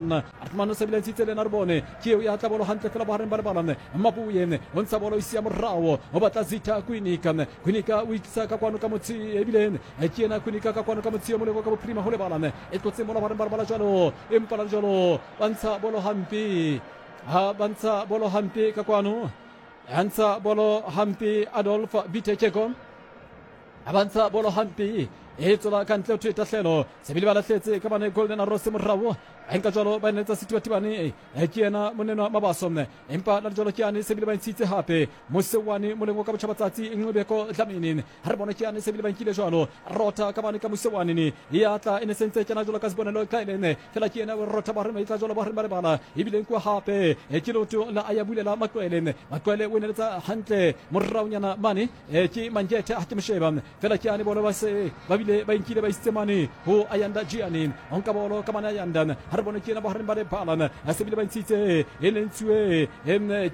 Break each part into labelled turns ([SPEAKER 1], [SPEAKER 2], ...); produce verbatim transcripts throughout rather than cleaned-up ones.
[SPEAKER 1] Armando se bile ntshitse le ena re bone ke eo ya tla bolo hantle fela bohareng ba lebala Mabuye o ntsha bolo isia morao o batla Zitha Kwinika Kwinika o itlisa ka kwano ka motse ebile ke yena Kwinika ka kwano ka motse moleko ka bophirima ho lebala e tlotse mola bohareng ba lebala jwalo empa la jwalo ba ntsha bolo hampe ha ba ntsha bolo hampe ka kwano a ntsha bolo hampe Adolf Bitekeko a ba ntsha bolo hampe e tswela ka ntle ho thwe tahlelo sebile ba lahletse ka bane Golden Arrows morao a nka jwalo ba netsa Sethibathibane ke yena monenwa Mabaso empa la jwalo ke yane sebile ba ntshitse hape Mosewane moleng ka botjhabatsatsi Nqobeko Dlamini ha re bone ke yane sebile ba nkile jwalo rota ka bane ka Mosewane ne ya tla e ne sentse kena jwalo ka Sibonelo Kaelene fela ke yena rota ba re maitla jwalo ba re ba lebala ebile nkuwa hape ke loto la Ayabulela Makwele Makwele o neletsa hantle moraonyana mane ke Mangethe ha ke mosheba fela ke yane bolo ba se ba bile ba nkile ba isitse mane ho Ayanda Gianni onka bolo ka mane Ayanda ha re bone ke yena bohareng ba lebala a sebile ba ntshitse e le ntshuwe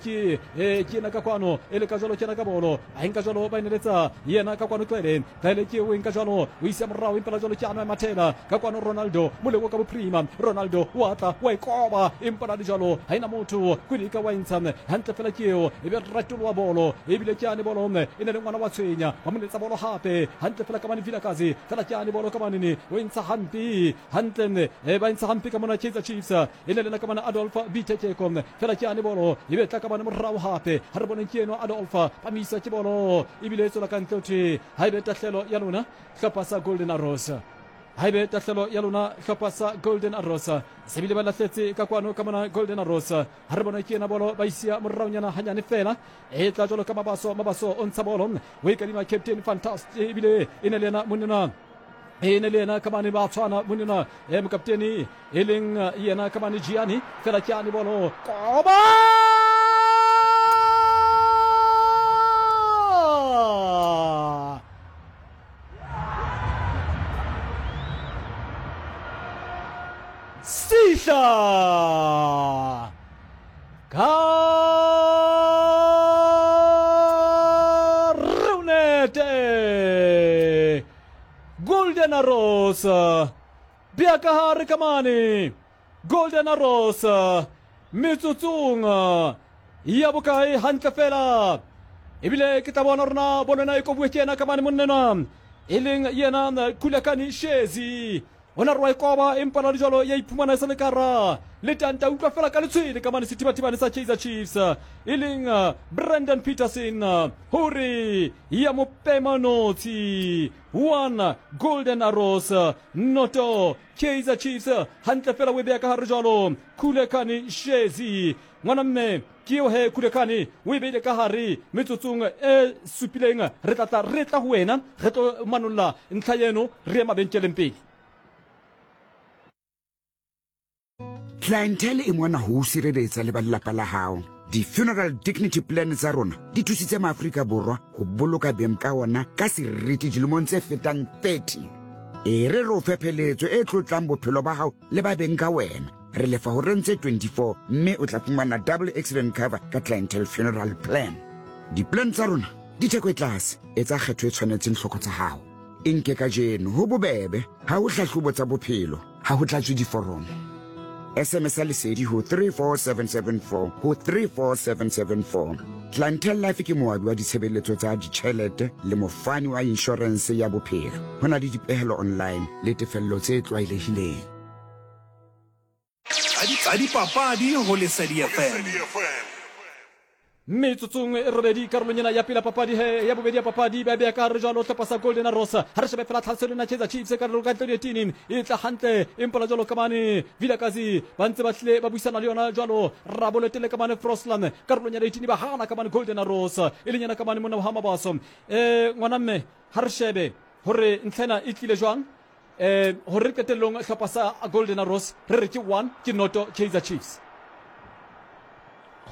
[SPEAKER 1] ke ke yena ka kwano e le ka jwalo ke yena ka bolo a nka jwalo ba neletsa yena ka kwano Tlele Tlele ke o nka jwalo o isa morao empa la jwalo ke ana Mathela ka kwano Ronaldo moleko ka bophirima Ronaldo wa tla wa ikoba empa la jwalo ha ina motho Kwinika wa ntsha hantle fela ke eo e be ratolowa bolo ebile ke ane bolo e ne le ngwana wa tshwenya ba mo letsa bolo hape hantle fela ka mane Vilakazi fela ke ane bolo ka mane o ntsha hampe hantle e ba ntsha hampe ka mona Kaizer Chiefs e ne lena ka mane Adolf Bitekeko fela ke ane bolo e be tla ka mane morao hape ha re boneng ke eno Adolf ba misa ke bolo ebile e tswela ka ntle thwe ha ebe tahlelo ya lona hlopha sa Golden Arrows ha ebe tahlelo ya lona hlopha sa Golden Arrows se bile ba lahletse ka kwano ka mona Golden Arrows ha re bona ke ena bolo ba isia moraonyana hanyane fela e tla jwalo ka Mabaso Mabaso o ntsha bolo o e kadima Captain Fantastic ebile e ne le yena monena e ne le yena ka mane ba tshwana monena e mokapteni e leng yena ka mane Gianni fela ke ane bolo koba Sihla Karunete Golden Arrows bia ka hare ka mane Golden Arrows metsotsong ya bokae hantle fela ebile ke tla bona rona bolona e kobuwe ke yena ka mane monnenwa e leng yena Khulekani Shezi ona re wa ikoba empa la dijalo ya iphumana e sa le kara le tanta utlwa fela ka letshwele ka mane Sethibathibane sa Kaizer Chiefs e leng Brandon Peterson hore ya mopema notshi one Golden Arrows noto Kaizer Chiefs hantle fela o e beya ka hare jwalo Khulekani Shezi ngwana mme ke eo he Khulekani o e beile ka hare metsotsong e supileng re tla tla re tla ho wena re tlo manolla ntlha eno re ye mabenkeleng pele.
[SPEAKER 2] Clientele e mona ho sireletsa le ba lelapa la hao. Di-funeral dignity plan tsa rona di thusitse maAfrika Borwa ho boloka beng ka ona ka seriti dilemong tse fetang thirty. E re re o fe pheletso e tlotlang bophelo ba hao le ba beng ka wena. Re lefa ho rentse twenty-four mme o tla fumana double accident cover ka Clientele funeral plan. Di-plan tsa rona di theko e tlase, etsa kgetho e tshwanetseng tlhoko tsa hao. E nke kajeno ho bobebe, ha ho hlahlobo tsa bophelo, ha ho tlatswe diforomo. S M S lesedi ho three four seven seven four ho three four seven seven four. Clientele Life ke moabi wa ditshebeletso tsa ditjhelete le mofani wa insurance ya bophelo. Ho na le dipehelo online le tefello tse tlwaelehileng.
[SPEAKER 3] Tsa dipapadi ho Lesedi F M.
[SPEAKER 1] Metsotsong e robedi karolong ena ya pele papadi he ya bobedi ya papadi ba beya ka hare jwalo hlopha sa Golden Arrows ha re shebe fela tlhaselo ena Kaizer Chiefs ka ka ntle dietini e tla hantle empa la jwalo ka mane Vilakazi ba ntse ba hlile ba buisana le yona jwalo Raboletele ka mane Frosland karolong ya dietini ba hana ka mane Golden Arrows e leng yena ka mane monna wa Mabaso eh ngwana mme ha re shebe hore ntlha ena e tlile jwang eh hore qetellong hlopha sa Golden Arrows re re ke one ke noto Kaizer Chiefs.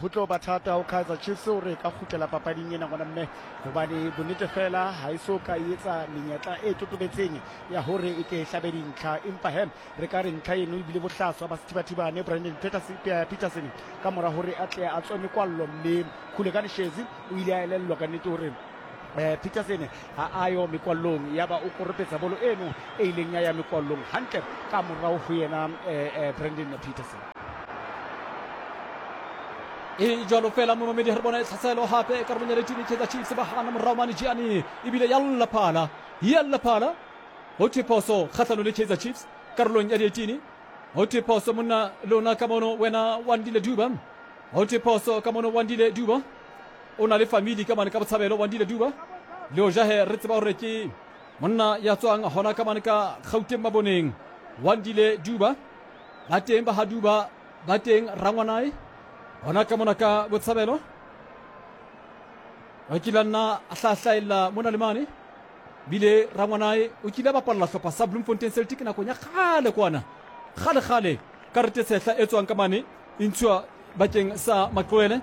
[SPEAKER 4] Ho tlo ba thata ho Kaizer Chiefs hore ka kgutlela papading ena ngwana mme hobane bonnete fela ha e so ka etsa menyetla e totobetseng ya hore e ke hlabe dintlha empa he re ka re ntlha eno ebile bohlaswa ba Sethibathibane Brandon Peterson Peterson ka mora hore a tle a tswe mekwallo mme Khulekani Shezi o ile a elellwa ka nnete hore eh Peterson ha ayo mekwallong ya ba o koropetsa bolo eno e ileng ya ya mekwallong hantle ka morao ho yena eh Brandon Peterson.
[SPEAKER 1] E jwalo fela momamedi re bona e tlhaselo hape karolong ya letini Kaizer Chiefs ba hana morao mane Gianni ebile yalla phala yalla phala ho thwe phoso kgahlano le Kaizer Chiefs karolong ya letini. Ho thwe phoso monna lona ka mono wena Wandile Duba. Ho thwe phoso ka mono Wandile Duba o na le family ka mane ka botshabelo Wandile Duba le o jahe re tseba hore ke monna ya tswang hona ka mane ka Gauteng Maboneng. Wandile Duba ba teng ba ha Duba ba teng rangwanae hona ka mona ka botshabelo o kile nna a hlahlaella mona le mane bile rangwanae o kile bapalla hlopha sa Bloemfontein Celtic nakong ya kgale kwana kgale kgale karete sehla e tswang ka mane e ntshuwa bakeng sa Maqwele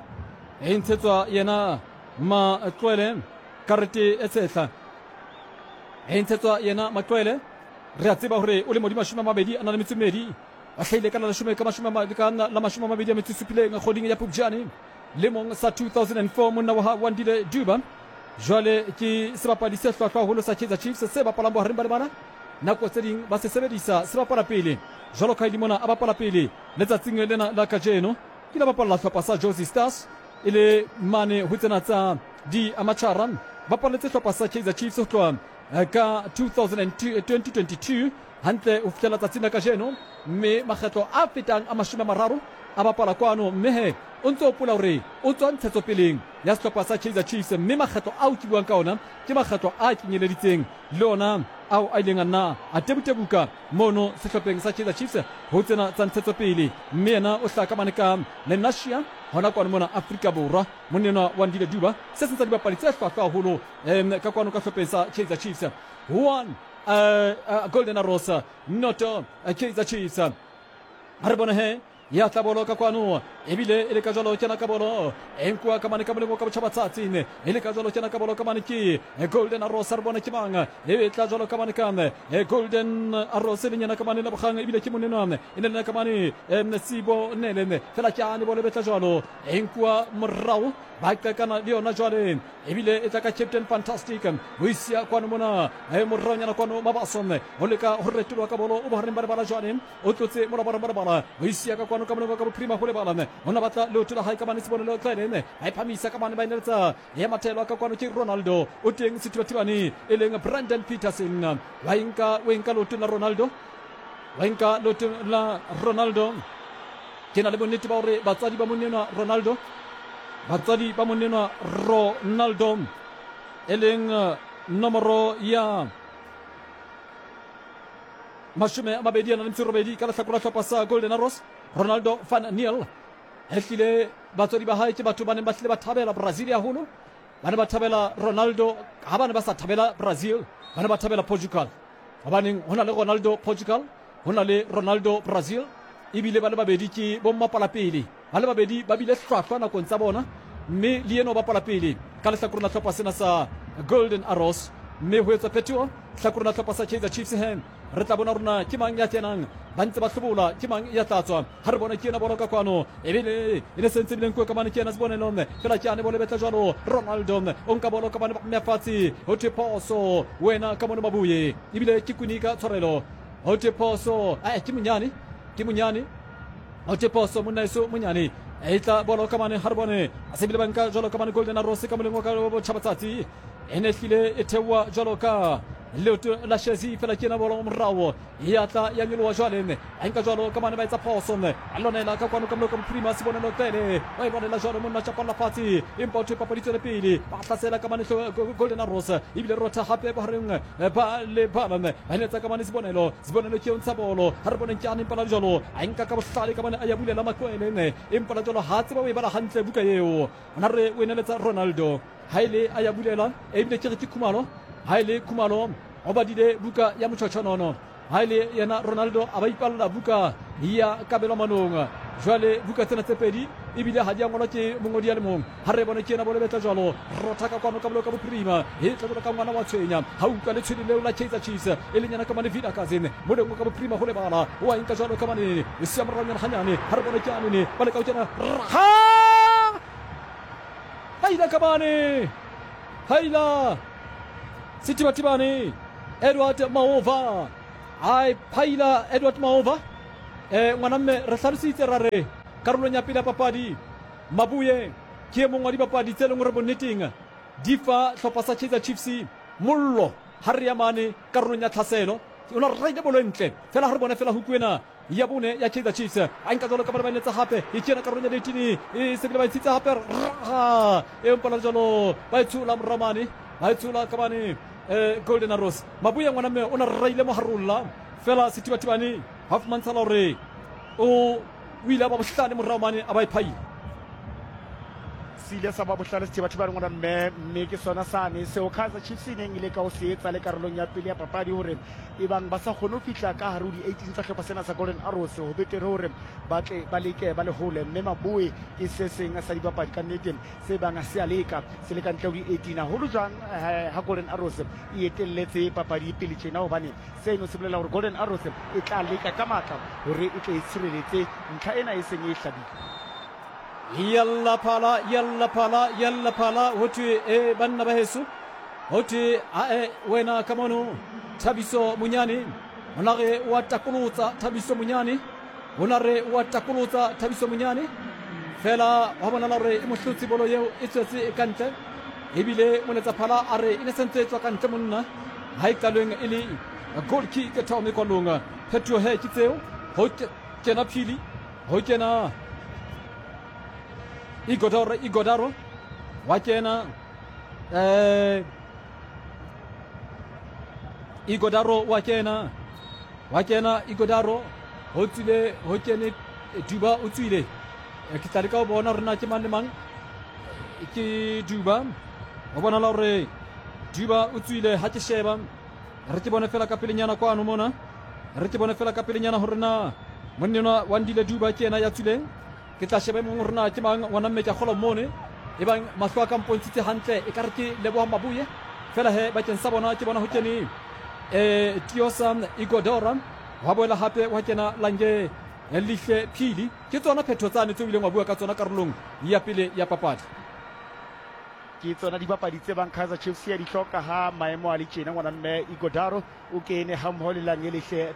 [SPEAKER 1] e ntshetswa yena Maqwele karete e tshehla e ntshetswa yena Maqwele. Re a tseba hore o le modimo mashome a mabedi a na le metso e mmedi a hlahile ka la leshome ka mashome ka la mashome a mabedi a metso e supileng kgoding ya Phupjane lemong sa two thousand four monna wa Wandile Duba jwale ke sebapadi se hlwahlwa haholo sa Kaizer Chiefs se bapalang bohareng ba lebala nako tse ding ba se sebedisa se bapala pele jwalo ka mona a bapala pele letsatsing lena la kajeno ke la bapalla hlopha sa Jozi Stars e le mane ho tsena tsa di amateur bapaletse hlopha sa Kaizer Chiefs ho tloha ka twenty twenty-two hantle ho fihlela tsatsing la kajeno mme makgetlo a fetang a mashome a mararo a bapala kwano mme he o ntse o pola hore o tswa ntshetsopeleng ya sehlopha sa Kaizer Chiefs mme makgetlo ao ke buang ka ona ke makgetlo a kenyeleditseng le ona ao a ileng a nna a tebutebuka mono sehlopheng sa Kaizer Chiefs ho tsena tsa ntshetsopele mme yena o hlaka mane ka Lenasia hona kwano mona Afrika Borwa monna Wandile Duba se seng sa dibapadi tse hlwahlwa haholo um ka kwano ka hlopheng sa Kaizer Chiefs. One uh, uh, Golden Arrows noto uh, Kaizer Chiefs. Ha re bone he ya tla bolo ka kwano ebile e le ka jwalo kena ka bolo e nkuwa ka mane ka molemo ka botjhabatsatsi e le ka jwalo kena ka bolo ka mane ke Golden Arrows re bone ke mang e tla jwalo ka mane ka Golden Arrows le nyana ka mane la bogang ebile ke monenwa e le ka mane Sibo Nele fela ke ane bolo betla jwalo e nkuwa morao ba qekana le yona jwale ebile e tla ka Captain Fantastic o isia kwano mona e moraonyana kwano Mabaso o leka ho retolwa ka bolo o bohareng ba lebala jwale o tlotse morabareng ba lebala o isia ka kwano ka molemo ka bophirima ho lebala ona batla leoto la hae ka mane Sibonelo Tlele ba iphamisa ka mane ba ineletsa ya mathelo ka kwano ke Ronaldo o teng sethibathibane e leng Brandon Peterson wa inka o inka leoto la Ronaldo wa inka leoto la Ronaldo ke na le bonnete ba hore batswadi ba monnenwa Ronaldo batswadi ba monnenwa Ronaldo e leng nomoro ya mashome a mabedi a na le metso e robedi ka lehlakore la hlopha sa Golden Arrows Ronaldo van Niel ehlile batswadi ba hae ke batho ba neng ba hlile ba thabela Brazil haholo ba ne ba thabela Ronaldo ha ba ne ba sa thabela Brazil ba ne ba thabela Portugal hobaneng ho na le Ronaldo Portugal ho na le Ronaldo Brazil ebile ba le babedi ke bommapala pele ba le babedi ba bile hlwahlwa nakong tsa bona mme le yena o bapala pele ka lehlakoreng la hlopha sena sa Golden Arrows mme ho etswa phetoho hlakoreng la hlopha sa Kaizer Chiefs he re tla bona rona ke mang ya kenang ba ntse ba hlobola ke mang ya tla tswa ha re bona ke yena bolo ka kwano ebile e ne sentse bileng kwa ka mane ke yena Sibonelo fela ke ane bolo betla jwalo Ronaldo o nka bolo ka mane ba mme fatshe ho thwe phoso wena ka mone Mabuye ebile ke Kunika tshwarelo ho thwe phoso eh ke Monyane ke Monyane ho thwe phoso monna eso Monyane e tla bolo ka mane ha re bone a se bile ba nka jwalo ka mane Golden Arrows ka moleng wa ka botjhabatsatsi e ne hlile e theoha jwalo ka leoto la Shezi fela ke yena bolo morao ya tla ya nyoloha jwale a nka jwalo ka mane ba etsa phoso a lwanela ka kwano ka moloko bophirima Sibonelo Tlele wa e lwanela jwalo monna tjapalla fatshe empa o thwe papadi tswele pele ba hlasela ka mane Golden Arrows ebile rotha hape bohareng ba lebala ba eletsa ka mane Sibonelo Sibonelo ke o ntsha bolo ha re boneng ke ane empa la jwalo a nka ka bohlale ka mane a ya bulela Makwele empa la jwalo ha tseba o e bala hantle buka eo ona re o eneletsa Ronaldo ha ile a ya bulela ebile ke re ke Khumalo ha ile Khumalo o badile buka ya motjhotjhonono ha ile yena Ronaldo a ba ipalla buka ya kabelo manong jwale buka tsena tse pedi ebile ha di a ngolwa ke mongodi ya le mong ha re bone ke yena bolo betla jwalo rotha ka kwano ka bolo ka bophirima e tla jwalo ka ngwana wa tshwenya ha utlwa le tshwele leo la Kaizer Chiefs e leng yena ka mane Vida Kazin moleng ka bophirima ho lebala o a nka jwalo ka mane e sia moranyana hanyane ha re bone ke anene ba leka ho kena ha haila ka mane haila Sethibathibane Edward Maova a phaila Edward Maova. Eh ngwana mme re hlalositse ra re karolong ya pele ya papadi Mabuye ke e mongwe wa dibapadi tse leng gore bonneteng di fa hlopha sa Kaizer Chiefs mollo ha re ya mane karolong ya tlhaselo. O la raile bolo ntle fela ha re bone fela huku ena ya bone ya Kaizer Chiefs a nka jalo ka bana ba eletsa hape e kena karolong ya eighteen e se bile ba itshitse hape raga e mpala jalo ba itshola moramane ba itshola ka bane eh Golden Arrows. Mabuye ngwana mme o na raile mo harolla fela Sethibathibane ha fumantshala hore o o ile ba bohlale moramane a ba iphaile
[SPEAKER 4] se ile sa ba bohlale Sethibathibane ngwana mme mme ke sona sane seo Kaizer Chiefs e neng ile ka o se etsa le karolong ya pele ya papadi hore e bang ba sa kgone ho fihla ka hare ho di-eighteen tsa hlopha sena sa Golden Arrows ho betere hore ba tle ba leke ba le hole. Mme Maboe ke se seng sa dibapadi ka nnete se bang se a leka se le ka ntle ho di-eighteen haholo jwang ha Golden Arrows e etelletse papadi pele tjena, hobane seno se bolela hore Golden Arrows e tla leka ka matla hore e tle e tshireletse ntlha ena e seng e hlabile.
[SPEAKER 1] Yalla phala yalla phala yalla phala ho thwe e banna ba heso ho thwe ae wena ka mono Thabiso Monyane o na re wa takolotsa Thabiso Monyane o na re wa takolotsa Thabiso Monyane fela wa bona hore e mohlotsi bolo eo e tswetse e kantle ebile moletsa phala a re e ne sentse tswa kantle monna ha e qalweng e le goal kick thome kwalong phetoho he ke tseo ho kena Phili ho kena Igodaro Igodaro wa kena eh Igodaro wa kena wa kena Igodaro ho tswile ho kene Duba o tswile ke tla leka ho bona hore na ke mang le mang ke Duba ho bona la hore Duba o tswile ha ke sheba re ke bone fela ka pelenyana kwano mona re ke bone fela ka pelenyana hore na monna Wandile Duba ke yena ya tswileng. Ke tla sheba mong hore na ke mang ngwana mme ke a kgola mone e bang mahlo a ka mpontshitse hantle e ka re ke Leboha Mabuye fela he bakeng sa bona ke bona ho kene eh Tiosa Igodora wa boela hape wa kena Lange Lihle Phili. Ke tsona phetho tsane tse o ileng wa bua ka tsona karolong ya pele ya papadi.
[SPEAKER 4] Ke tsona dibapadi tse bang Kaizer Chiefs ya di hloka ha maemo a le tjena ngwana mme Igodaro o kene ha mmoho le Lange Lihle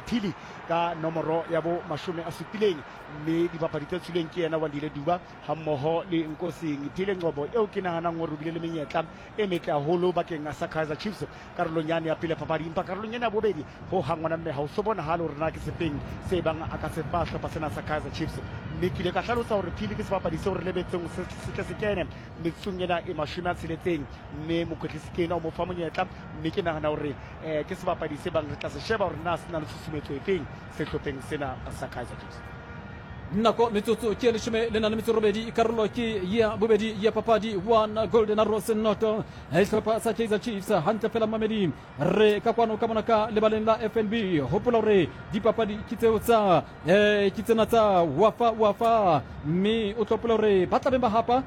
[SPEAKER 4] Phili ka nomoro ya bo mashome a supileng mme dibapadi tse tswileng ke yena Wandile Duba ha mmoho le Nkosing Phile Ngcobo eo ke nahanang hore o bile le menyetla e metle haholo bakeng sa Kaizer Chiefs karolong yane ya pele papadi, empa karolong ena ya bobedi ho hang ngwana mme ha o so bonahale hore na ke sefeng se bang a ka se fa hlopha sena sa Kaizer Chiefs. Mme ke ile ka hlalosa hore Phili ke sebapadi seo re lebetseng se tle se kene metsotsong ena e mashome a tsheletseng mme mokwetlisi ke ena o mo fa monyetla mme ke nahana hore eh ke sebapadi se bang re tla se sheba hore na se na le tshusumetso efeng sehlopheng sena sa Kaizer Chiefs.
[SPEAKER 1] Nako metsotso ke leshome le nang le metso robedi karolo ke ya bobedi ya papadi one Golden Arrows noto sehlopha sa Kaizer Chiefs hantle fela mamedi re ka kwano ka mona ka lebaleng la F N B. Hopola hore dipapadi ke tseo tsa eh ke tsena tsa Wafa Wafa mme o tlopola hore ba tla beng ba hapa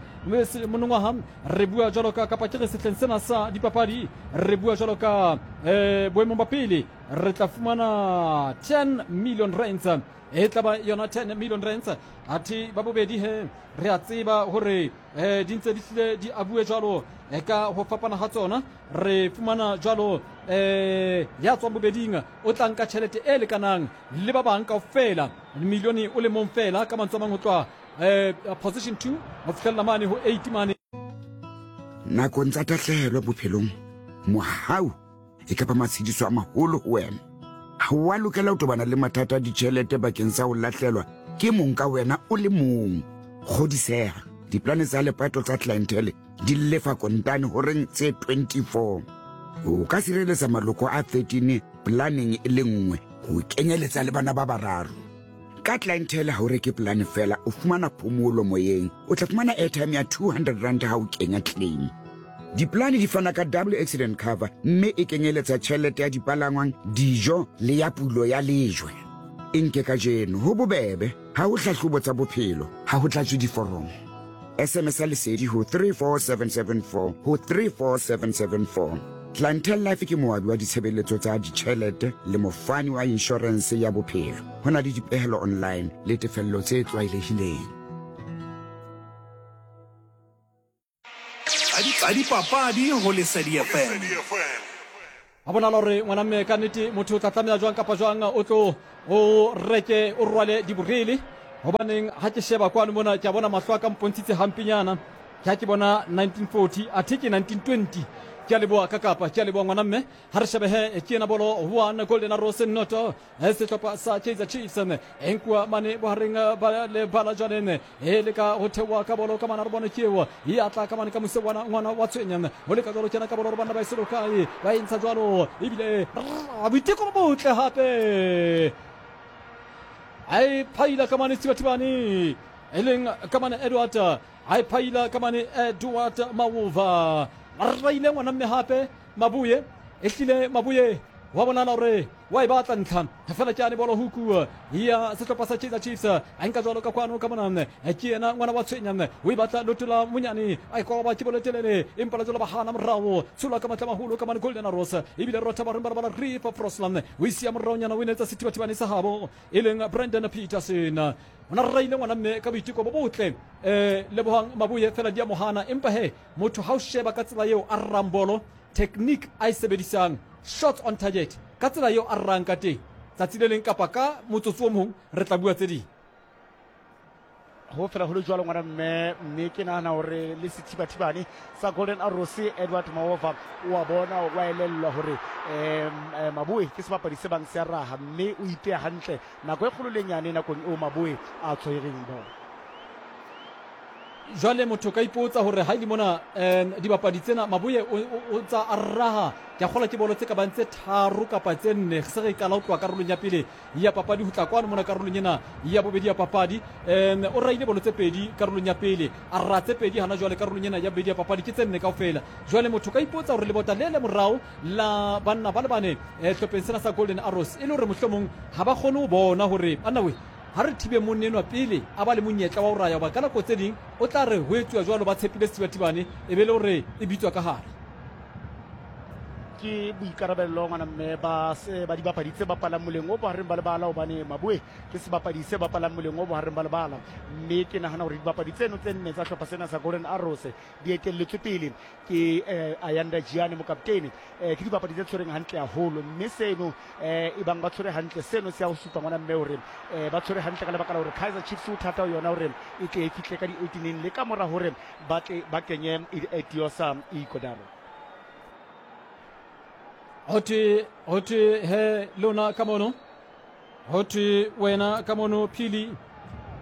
[SPEAKER 1] monongwaha re bua jwalo ka kapa ke re sehleng sena sa dipapadi re bua jwalo ka eh boemong ba pele re tla fumana ten million rands e tla ba yona ten million rands athe ba bobedi he re a tseba hore eh di ntse di hlile di abue jwalo ka ho fapana ha tsona re fumana jwalo eh ya tswang bobeding o tla nka tjhelete e lekanang le ba bang kaofela milione o le mong fela ka mantswe a mang ho tloha eh position two ho fihlella mane ho eight mane.
[SPEAKER 2] Nakong tsa tahlehelo bophelong mohau e kapa matshediso a maholo ho wena. Ha wa lokela ho tobana le mathata a ditjhelete bakeng sa ho lahlelwa ke mong ka wena o le mong. Kgodiseha, diplane tsa lepato tsa clientele di lefa kontane horeng tse twenty-four. O ka sireletsa maloko a thirteen planeng e le nngwe ho kenyeletsa le bana ba bararo. Ka clientele ha o reke plane fela o fumana phomolo moyeng. O tla fumana airtime ya two hundred rand ha o kenya claim. Diplane di fana ka double accident cover mme e kenyeletsa tjhelete ya dipalangwang, dijo le ya pulo ya lejwe. E nke kajeno ho bobebe ha ho hlahlobo tsa bophelo, ha ho tlatswe diforomo. S M S lesedi ho three four seven seven four ho three four seven seven four. Clientele Life ke moabi wa ditshebeletso tsa ditjhelete le mofani wa insurance ya bophelo. Ho na le dipehelo online le tefello tse tlwaelehileng.
[SPEAKER 3] Tsa dipapadi ho Lesedi F M.
[SPEAKER 1] A bonala hore ngwana mme ka nnete motho o tla tlameha jwang kapa jwang o tlo o reke o rwale diborele, hobaneng ha ke sheba kwano mona ke a bona mahlo a ka mpontshitse hampenyana, ke ha ke bona nineteen forty athe ke nineteen twenty. Ke a leboha ka kapa, ke a leboha ngwana mme. Ha re shebehe ke ena bolo one Golden Arrows noto sehlopha sa Kaizer Chiefs e nkuwa mane bohareng ba le bala jwale e leka ho theoha ka bolo ka mana re bone ke eo e atla ka mane ka mose wana ngwana wa tshwenya ho leka jwalo kena ka bolo re bana ba e selo kae ba e ntsha jwalo ebile boiteko bo botle hape a e phaila ka mane Thibathibane e leng ka mane Edward a e phaila ka mane Edward Mawuva. Raile ngwana mme hape Mabuye e hlile Mabuye wa bonala hore wa e batla ntlha fela ke ane bolo huku ya sehlopha sa Kaizer Chiefs a nka jwalo ka kwano ka mona ke yena ngwana wa tshwenya o e batla lotola monyane a ikoba ke bolo telele empa la jwalo ba hana morao tshola ka matla maholo ka mane Golden Arrows ebile rotha ba reng ba bala Rifa Frosland o isia moraonyana o inetsa Sethibathibane sa habo e leng Brandon Peterson. Ona raile ngwana mme ka boiteko bo botle eh Lebohang Mabuye fela di a mohana, empa he motho ha o sheba ka tsela eo a rrang bolo technique a e sebedisang shots on target ka tsela eo a rrang ka teng tsatsi le leng kapa ka motsotso o mong re tla bua tse ding.
[SPEAKER 4] Ho fela ho le jwalo ngwana mme, mme ke nahana hore le Sethibathibane sa Golden Arrows Edward Mawova o a bona wa elellwa hore um Maboe ke sebapadi se bang se a raha mme o ipeha hantle nako e kgolo le nyane nakong eo Maboe a tshwereng bolo.
[SPEAKER 1] Jwale motho ka ipotsa hore ha ile mona um dibapadi tsena Maboe o tsa a raha ke a kgola ke bolo tse ka bang tse tharo kapa tse nne se re qala ho tloha karolong ya pele ya papadi ho tla kwano mona karolong ena ya bobedi ya papadi. Um o raile bolo tse pedi karolong ya pele a ra tse pedi hana jwale karolong ena ya bobedi ya papadi ke tse nne kaofela. Jwale motho ka ipotsa hore lebota le le morao la banna ba le bane hlopheng sena sa Golden Arrows e le hore mohlomong ha ba kgone ho bona hore anna we ha re thibe monna enwa pele a ba le monyetla wa ho raya, hoba ka nako tse ding o tla re ho etsuwa jwalo ba tshepile Sethibathibane e be le hore e bitswa ka hare.
[SPEAKER 4] Ke boikarabello ngwana mme ba se ba dibapadi tse bapalang moleng o bohareng ba lebala, hobane Maboe ke sebapadi se bapalang moleng o bohareng ba lebala, mme ke nahana hore dibapadi tseno tse nne tsa hlopha sena sa Golden Arrows di etelletswe pele ke eh, Ayanda Giane mokaptene. Eh, ke dibapadi tse tshwereng hantle haholo, mme seno eh, e bang ba tshwere hantle seno se ya ho supa ngwana mme hore eh, ba tshwere hantle ka lebaka la hore Kaizer Chiefs o thata ho yona hore e tle e fihle ka di-eighteen le ka mora hore ba tle ba kenye Etiosa Ikodaro.
[SPEAKER 1] Hothwe hothwe he lona ka mono, hothwe wena ka mono Phili,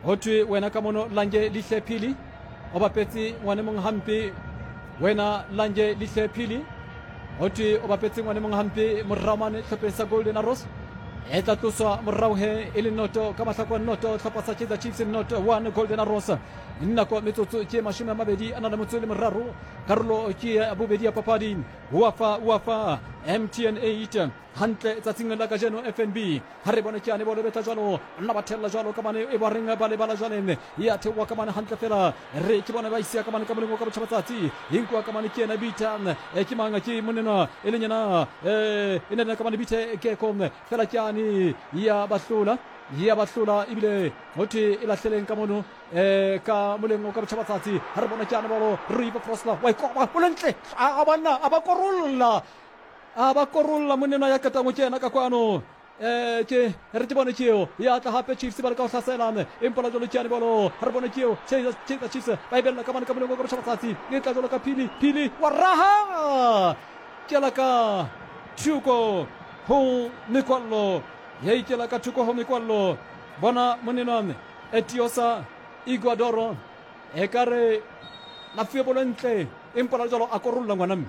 [SPEAKER 1] hothwe wena ka mono Lange Lihle Phili o bapetse ngwane mong hampe, wena Lange Lihle Phili hothwe o bapetse ngwane mong hampe morao mane hlopheng sa Golden Arrows e tla tloswa morao he e le noto ka mahlakwa noto hlopha sa Kaizer Chiefs noto one Golden Arrows. Nako metsotso ke mashome a mabedi a na le motso le meraro karolo ke ya bobedi ya papadi Wafa Wafa M T N eight hantle tsatsing la kajeno F N B ha re bone ke ane bolo betla jwalo nna ba thella jwalo ka mane e ba reng ba le bala jwale ya theoha ka mane hantle fela re ke bona ba isia ka mane ka moleng ka botjhaba tsatsi inkuwa ka mane ke ena bitha ke mang ke monena e leng yena eh e ne ka mane bithe ke kom fela ke ane ya bahlola ya bahlola ebile hothwe e lahleleng ka mono eh ka moleng ka botjhaba tsatsi ha re bona ke ane bolo River Frosla wa ikoba o lentle a banna a ba korolla a ba korolla monena ya katang ke yena ka kwano eh ke re ke bone ke eo ya tla hape Chiefs ba le ka ho hlasela empa la jwalo ke ane bolo ha re bone ke eo Kaizer Chiefs ba e bella ka mane ka moleng ka botjhaba tsatsi e tla jwalo ka Phili Phili wa raha ke la ka thoko ho mekwallo ya ikela ka thoko ho mekwallo bona monenwa Etiosa Iguadoro e ka re na fuwe bolo ntle empa la jwalo a korolla ngwana mme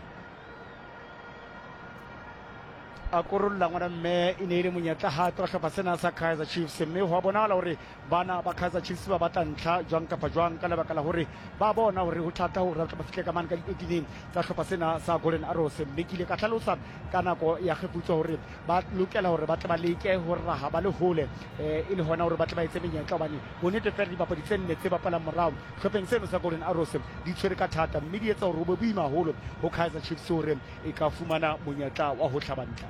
[SPEAKER 4] a korolla ngwana mme e ne e le monyetla hape wa hlopha sena sa Kaizer Chiefs, mme ho a bonahala hore bana ba Kaizer Chiefs ba batla ntlha jwang kapa jwang ka lebaka la hore ba bona hore ho thata hore ba fihle ka mane ka di-eighteen tsa hlopha sena sa Golden Arrows. Mme ke ile ka hlalosa ka nako ya kgefutso hore ba lokela hore ba tle ba leke ho raha ba le hole e le hona hore ba tle ba etse menyetla, hobane bonnete fela dibapadi tse nne tse bapalang morao hlopheng seno sa Golden Arrows di tshwere ka thata, mme di etsa hore ho be boima haholo ho Kaizer Chiefs hore e ka fumana monyetla wa ho hlaba ntlha.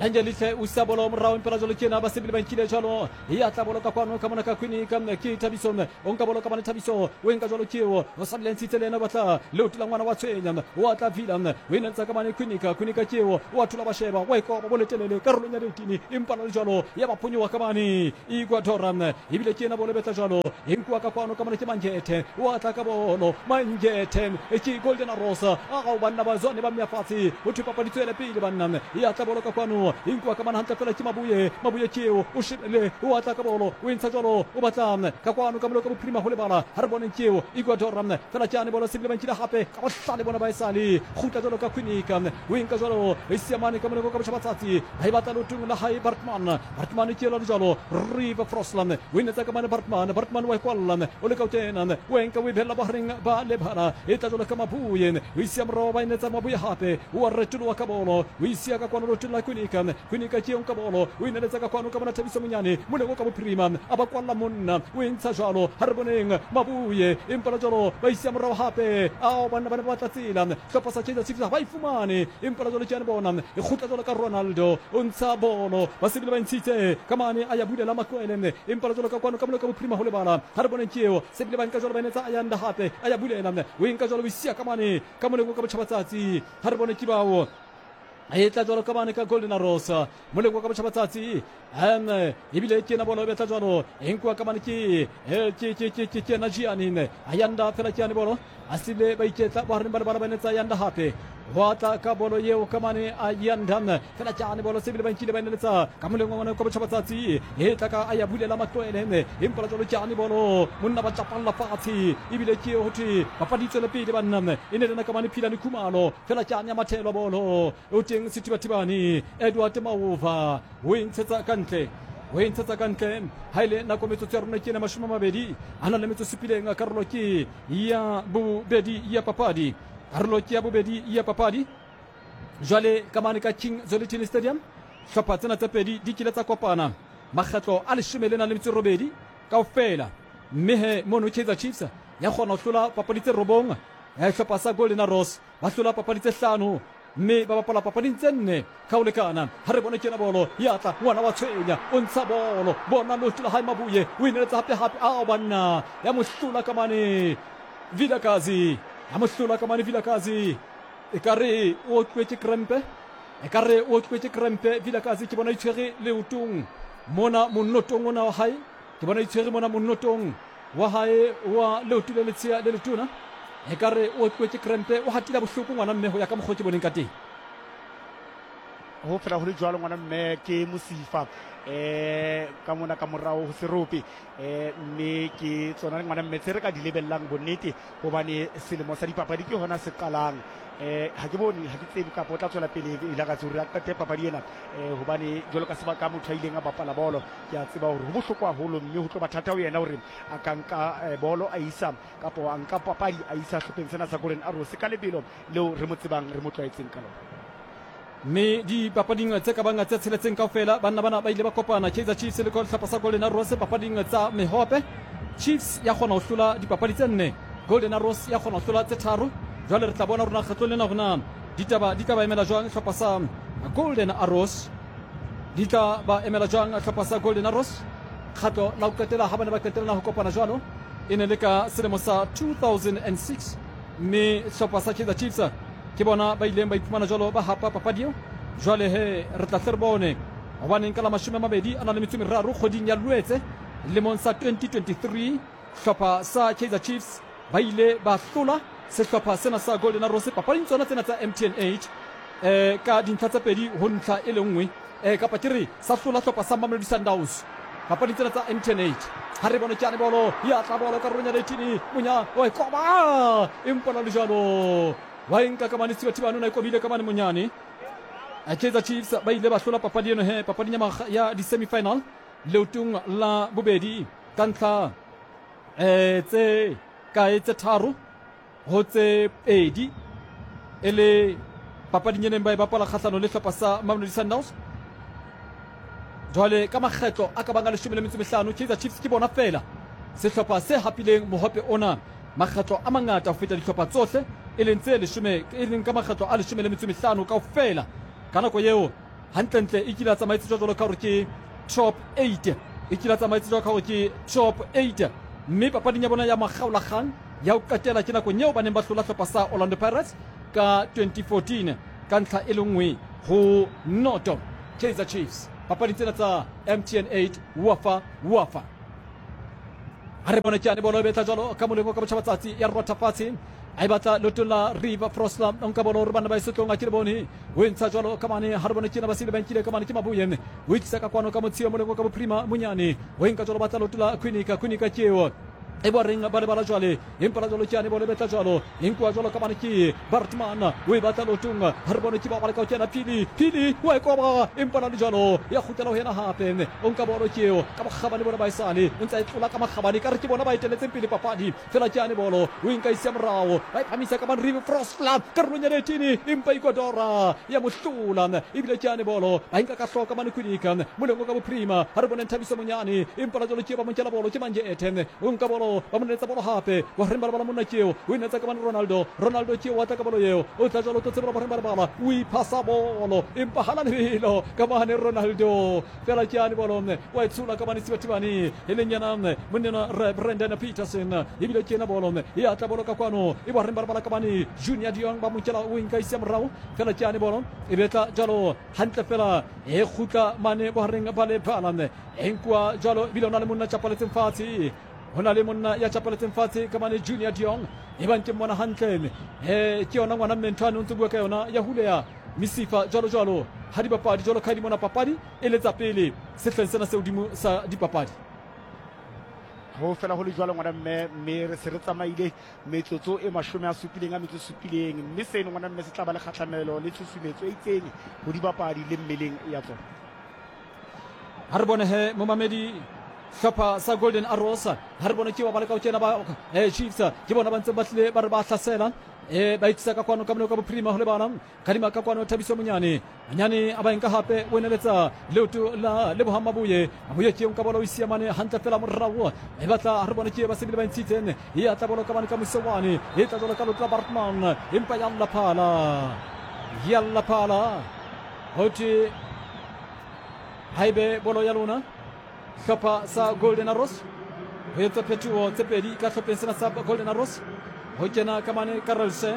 [SPEAKER 1] Langelihle o isa bolo morao impela jalo ke ena ba sebile ba nkile jalo e atla bolo ka kwano ka mona ka Kwinika ke Thabiso o nka bolo ka mane Thabiso o nka jalo ke eo o sa ntshitse le ena batla leoto la ngwana wa tshwenya o atla Vila o inetsa ka mane Kwinika Kwinika ke eo o a thula ba sheba wa ikoba bolo telele karolong ya eighteen empa le jalo ya ba phonyowa ka mane Ecuador ebile ke ena bolo betla jalo e nkuwa ka kwano ka mane ke Mangethe o atla ka bolo Mangethe ke Golden Arrows a ga o banna ba zone ba mmea fatshe o thwe papadi tswele pele banna e atla bolo ka kwano e nkuwa ka mane hantle fela ke Mabuye Mabuye ke eo o shebele o atla ka bolo o entsha jalo o batla ka kwano ka moloko bophirima ho lebala ha re boneng ke eo Ecuador fela ke ane bolo sebile ba nkile hape ka bohlale bona ba esale kgutla jalo ka Kwinika o enka jalo e siamane ka moloko ka botjhabatsatsi ha e batla leotong la hae Bartman Bartman ke elo jalo River Frosland o inetsa ka mane Bartman Bartman wa e kwalla o leka ho kena o enka o e behella bohareng ba lebala e tla jalo ka Mabuye o isia morao ba inetsa Mabuye hape o a retoloha ka bolo o isia ka kwano leotong la Kwinika Kwinika ke eo ka bolo o ineletsa ka kwano ka bona Thabiso Monyane moleko ka bophirima a ba kwalla monna o entsha jalo ha re boneng Mabuye empa la jalo ba isia morao hape ao banna ba ne ba batla tsela hlopha sa Kaizer Chiefs ba e fumane empa la jalo ke ane bona e kgutla jalo ka Ronaldo o ntsha bolo ba sebile ba ntshitse ka mane a ya bulela Makwele empa la jalo ka kwano ka moleko ka bophirima ho lebala ha re boneng ke eo sebile ba nka jalo ba inetsa Ayanda hape a ya bulela o enka jalo o isia ka mane ka moleko ka botjhabatsatsi ha re bone ke bao e tla jalo ka mane ka Golden Arrows moleko ka botjhabatsatsi um ebile ke ena bolo e betla jalo e nkuwa ka mane ke ke ke ke ke ke ena Gianni Ayanda fela ke ane bolo a sile ba iketla bohareng ba lebala ba inetsa Ayanda hape ho tla ka bolo eo ka mane Ayanda fela ke ane bolo sebile ba nkile ba ineletsa ka moleng wa ngwana ka botjhabatsatsi e tla ka a ya bulela Makwele empa la jalo ke ane bolo monna ba tjapalla fatshe ebile ke ho thwe papadi tswele pele banna e ne lena ka mane Philane Khumalo fela ke ane ya mathelwa bolo o teng Sethibathibane Edward Maova o e ntshetsa ka ntle o e ntshetsa ka ntle ha ile nako metsotso ya rona ke ena mashome a mabedi a na le metsotso supileng karolo ke ya bobedi ya papadi karolo ke ya bobedi ya papadi jwale ka mane ka King Zwelithini Stadium hlopha tsena tse pedi di kile tsa kopana makgetlo a leshome le nang le metso e robedi kaofela mme he mono Kaizer Chiefs ya kgona ho hlola papadi tse robong hlopha sa Golden Arrows ba hlola papadi tse hlano mme ba bapala papading tse nne ka ho lekana ha re bone ke ena bolo ya tla ngwana wa tshwenya o ntsha bolo bona leoto la hae Mabuye o ineletsa hape hape ao banna ya mo hlola ka mane Vilakazi ya mo hlola ka mane Vilakazi ekare o otluwe ke krempe ekare o otluwe ke krempe Vilakazi ke bona itshwere leotong mona monotong ona wa hae ke bona itshwere mona monotong wa hae wa leoto le letshea le letona ekare o otluwe ke krempe o hatila bohloko ngwana mme ho ya ka mokgwa ke boneng ka teng
[SPEAKER 4] ho fela ho le jwalo ngwana mme ke mosifa eh ka mona ka morao ho serope eh mme ke tsona ngwana mme tse re ka di lebellang bonnete hobane selemo sa dipapadi ke hona se qalang eh ha ke bone ha ke tsebe kapa o tla tswela pele ile ka tsore a qete papadi ena eh hobane jwalo ka sebaka motho a ileng a bapala bolo ke a tseba hore ho bohlokwa haholo mme ho tlo ba thata ho yena hore a ka nka bolo a isa kapa a nka papadi a isa hlopheng sena sa Golden Arrows ka lebelo leo re mo tsebang re mo tlwaetseng ka lona.
[SPEAKER 1] Mme dipapading tse ka bang tse tsheletseng kaofela banna bana ba ile ba kopana Kaizer Chiefs le sehlopha sa Golden Arrows papading tsa mehope. Chiefs ya kgona ho hlola dipapadi tse nne, Golden Arrows ya kgona ho hlola tse tharo. Jwale re tla bona rona kgetlong lena hore ditaba di tla ba emela jwang sehlopha sa Golden Arrows, di tla ba emela jwang sehlopha sa Golden Arrows. Kgatlo la ho qetela ha bane ba qetelana ho kopana jwalo e ne le ka selemo sa two thousand six, mme sehlopha sa Kaizer Chiefs ke bona ba ileng ba iphumana jwalo ba hapa papadi eo. Jwale he re tla hle re bone hobaneng ka la mashome a mabedi a na le metso e meraro kgweding ya Loetse lemong sa twenty twenty-three hlopha sa Kaizer Chiefs ba ile ba hlola sehlopha sena sa Golden Arrows papading tsona tsena tsa M T N eight eh ka dintlha tse pedi ho ntlha e le nngwe eh kapa ke re sa hlola hlopha sa Mamelodi Sundowns papading tsena tsa M T N eight. Ha re bone ke ane bolo ya tla bolo karolong ya eighteen monya wa koba empa la le jwalo wa nka ka mane Thibathibane o na e kobile ka mane monyane. Kaizer Chiefs ba ile ba hlola papadi eno he papading ya di-semi-final leotong la bobedi ka ntlha eh tse kae tse tharo ho tse pedi e le papading e neng ba e bapala kgahlano le hlopha sa Mamelodi Sundowns. Jwale ka makgetlo a ka bang a leshome le metso e mehlano Kaizer Chiefs ke bona fela sehlopha se hapileng mohope ona makgetlo a mangata ho feta dihlopha tsohle e leng tse leshome e leng ka makgetlo a leshome le metso e mehlano kaofela. Ka nako eo Hantlentle e kile a tsamaetse jwalo ka hore ke top eight, e kile a tsamaetse jwalo ka hore ke top eight. Mme papading ya bona ya makgaolakgang ya ho qetela ke nakong eo ba neng ba hlola hlopha sa Orlando Pirates ka twenty fourteen ka ntlha e le nngwe ho noto. Kaizer Chiefs papading tsena tsa M T N eight Wafa Wafa. Ha re bone ke ane bolo e betla jwalo ka molemo ka botjhabatsatsi ya rotha fatshe. A e batla leotong la River Frosler, o nka bolo hore bana ba e setlong a ke le bone. O e ntsha jwalo ka mane, ha re bone ke ena ba sile ba nkile ka mane ke Mabuye. O e tlisa ka kwano ka Motshio molemo ka bophirima Monyane. O e nka jwalo batla leoto la Kwinika, Kwinika ke eo. E ba reng ba lebala jwale, empa la jwalo ke ane bolo e betla jwalo. E nkuwa jwalo ka mane ke Bartman, o e batla leotong. Ha re bone ke ba ba leka ho kena Phili, Phili wa e koba, empa la le jwalo ya kgutlela ho yena hape. O nka bolo ke eo ka bokgabane bona ba esale, o ntse a e tlola ka makgabane, ka re ke bona ba eteletseng pele papadi. Fela ke ane bolo, o e nka e siya morao, ba e phamisa ka mane River Frosler karolong ya eighteen, empa Ecuador ya mo hlola. Ebile ke ane bolo, ba e nka ka hloko ka mane Kwinika moleng ka bophirima. Ha re bone Thabiso Monyane, empa la jwalo ke ba mo nkela bolo ke Manje Ethe. O nka bolo ba mo netsa bolo hape, wa reng ba lebala monna ke eo, o e netsa ka mane Ronaldo, Ronaldo ke eo wa tla ka bolo eo, o tla jwalo o tlo tsebela boreng ba lebala, o iphasa bolo empa hana lebelo ka mane Ronaldo. Fela ke ane bolo wa e tshola ka mane Sibatibane, e leng yena monnena re Brandon Peterson. Ebile ke ena bolo e atla bolo ka kwano, e ba reng ba lebala ka mane Junior Dion ba mo nkela, o e nka isia morao. Fela ke ane bolo e betla jwalo hantle fela e kgutla mane bohareng ba lebala, e nkuwa jwalo ebile o na le monna tjapaletseng fatshe. Ho na le monna ya tjapaletseng fatshe ka mane Junior Dion, e bang ke mmona hantle. Eh ke yona ngwana mme ntho ane o ntse bua ka yona ya huleya mesifa jwalo jwalo ha dipapadi jwalo ka di mona papadi e letsa pele sehleng sena se hodimo sa dipapadi.
[SPEAKER 4] Ho fela ho le jwalo ngwana mme, mme re se re tsamaile metsotso e mashome a supileng a metso supileng, mme seno ngwana mme se tla ba le kgahlamelo le tshusumetso e itseng ho dibapadi le mmeleng ya tsona.
[SPEAKER 1] Ha re bone he momamedi hlopha sa Golden Arrows, ha re bone ke ba ba leka ho kena ba eh Chiefs ke bona ba ntse ba tlile ba re ba hlasela. Eh ba itsisa ka kwano ka moleko ka bophirima ho lebala kadima ka kwano Thabiso Monyane, Monyane a ba nka hape o eneletsa leoto la Lebohang Mabuye, Mabuye ke nka bolo o isia mane hantle fela morao. E batla re bone ke ba sebile ba ntshitseng, e atla bolo ka mane ka Mosewane, e tla jwalo ka leoto la Bartman, empa ya lla phala, ya lla phala. Ho thwe haebe bolo ya lona hlopha sa Golden Arrows ho etsa phetoho tse pedi ka hlopheng sena sa Golden Arrows. Ho kena ka mane Karelse,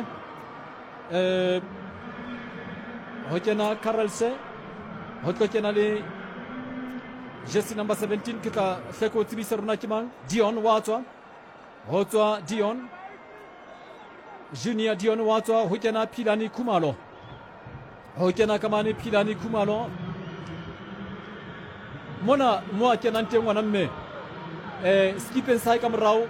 [SPEAKER 1] eh ho kena Karelse, ho tlo kena le jersey number seventeen. Ke tla hle ko tsebisa rona ke mang. Dion wa tswa, ho tswa Dion Junior Dion wa tswa, ho kena Philani Khumalo, ho kena ka mane Philani Khumalo. Mona mo a kenang teng ngwana mme eh skipeng sa hae ka morao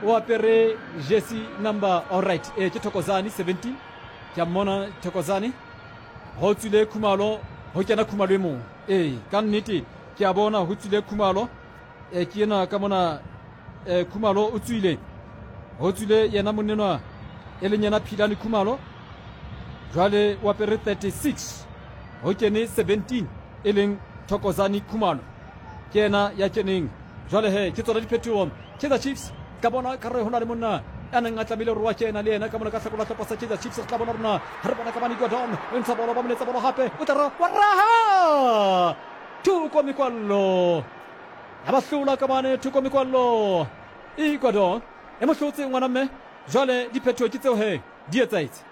[SPEAKER 1] o apere jersey number, all right, eh ke Thokozani seventeen. Ke a mmona Thokozani, ho tswile Khumalo, ho kena Khumalo e mong. Eh ka nnete ke a bona ho tswile Khumalo, eh ke ena ka mona eh Khumalo o tswile, ho tswile yena monnenwa e leng yena Philani Khumalo. Jwale o apere thirty-six, ho kene seventeen e leng Thokozani Khumalo, ke ena ya keneng. Jwale he ke tsona diphetoho. Kaizer Chiefs ka bona ka re ho na le monna a neng a tlamehile hore wa kena le yena ka mona ka hlakola hlopha sa Kaizer Chiefs. Re tla bona rona ha re bona ka mane Gordon o ntsha bolo, ba mo letsa bolo hape, o tla ra wa raha Thoko Mekwallo, ya ba hlola ka mane Thoko Mekwallo. Ecuador e mo hlotse ngwana mme. Jwale diphetoho ke tseo he di etsahetse.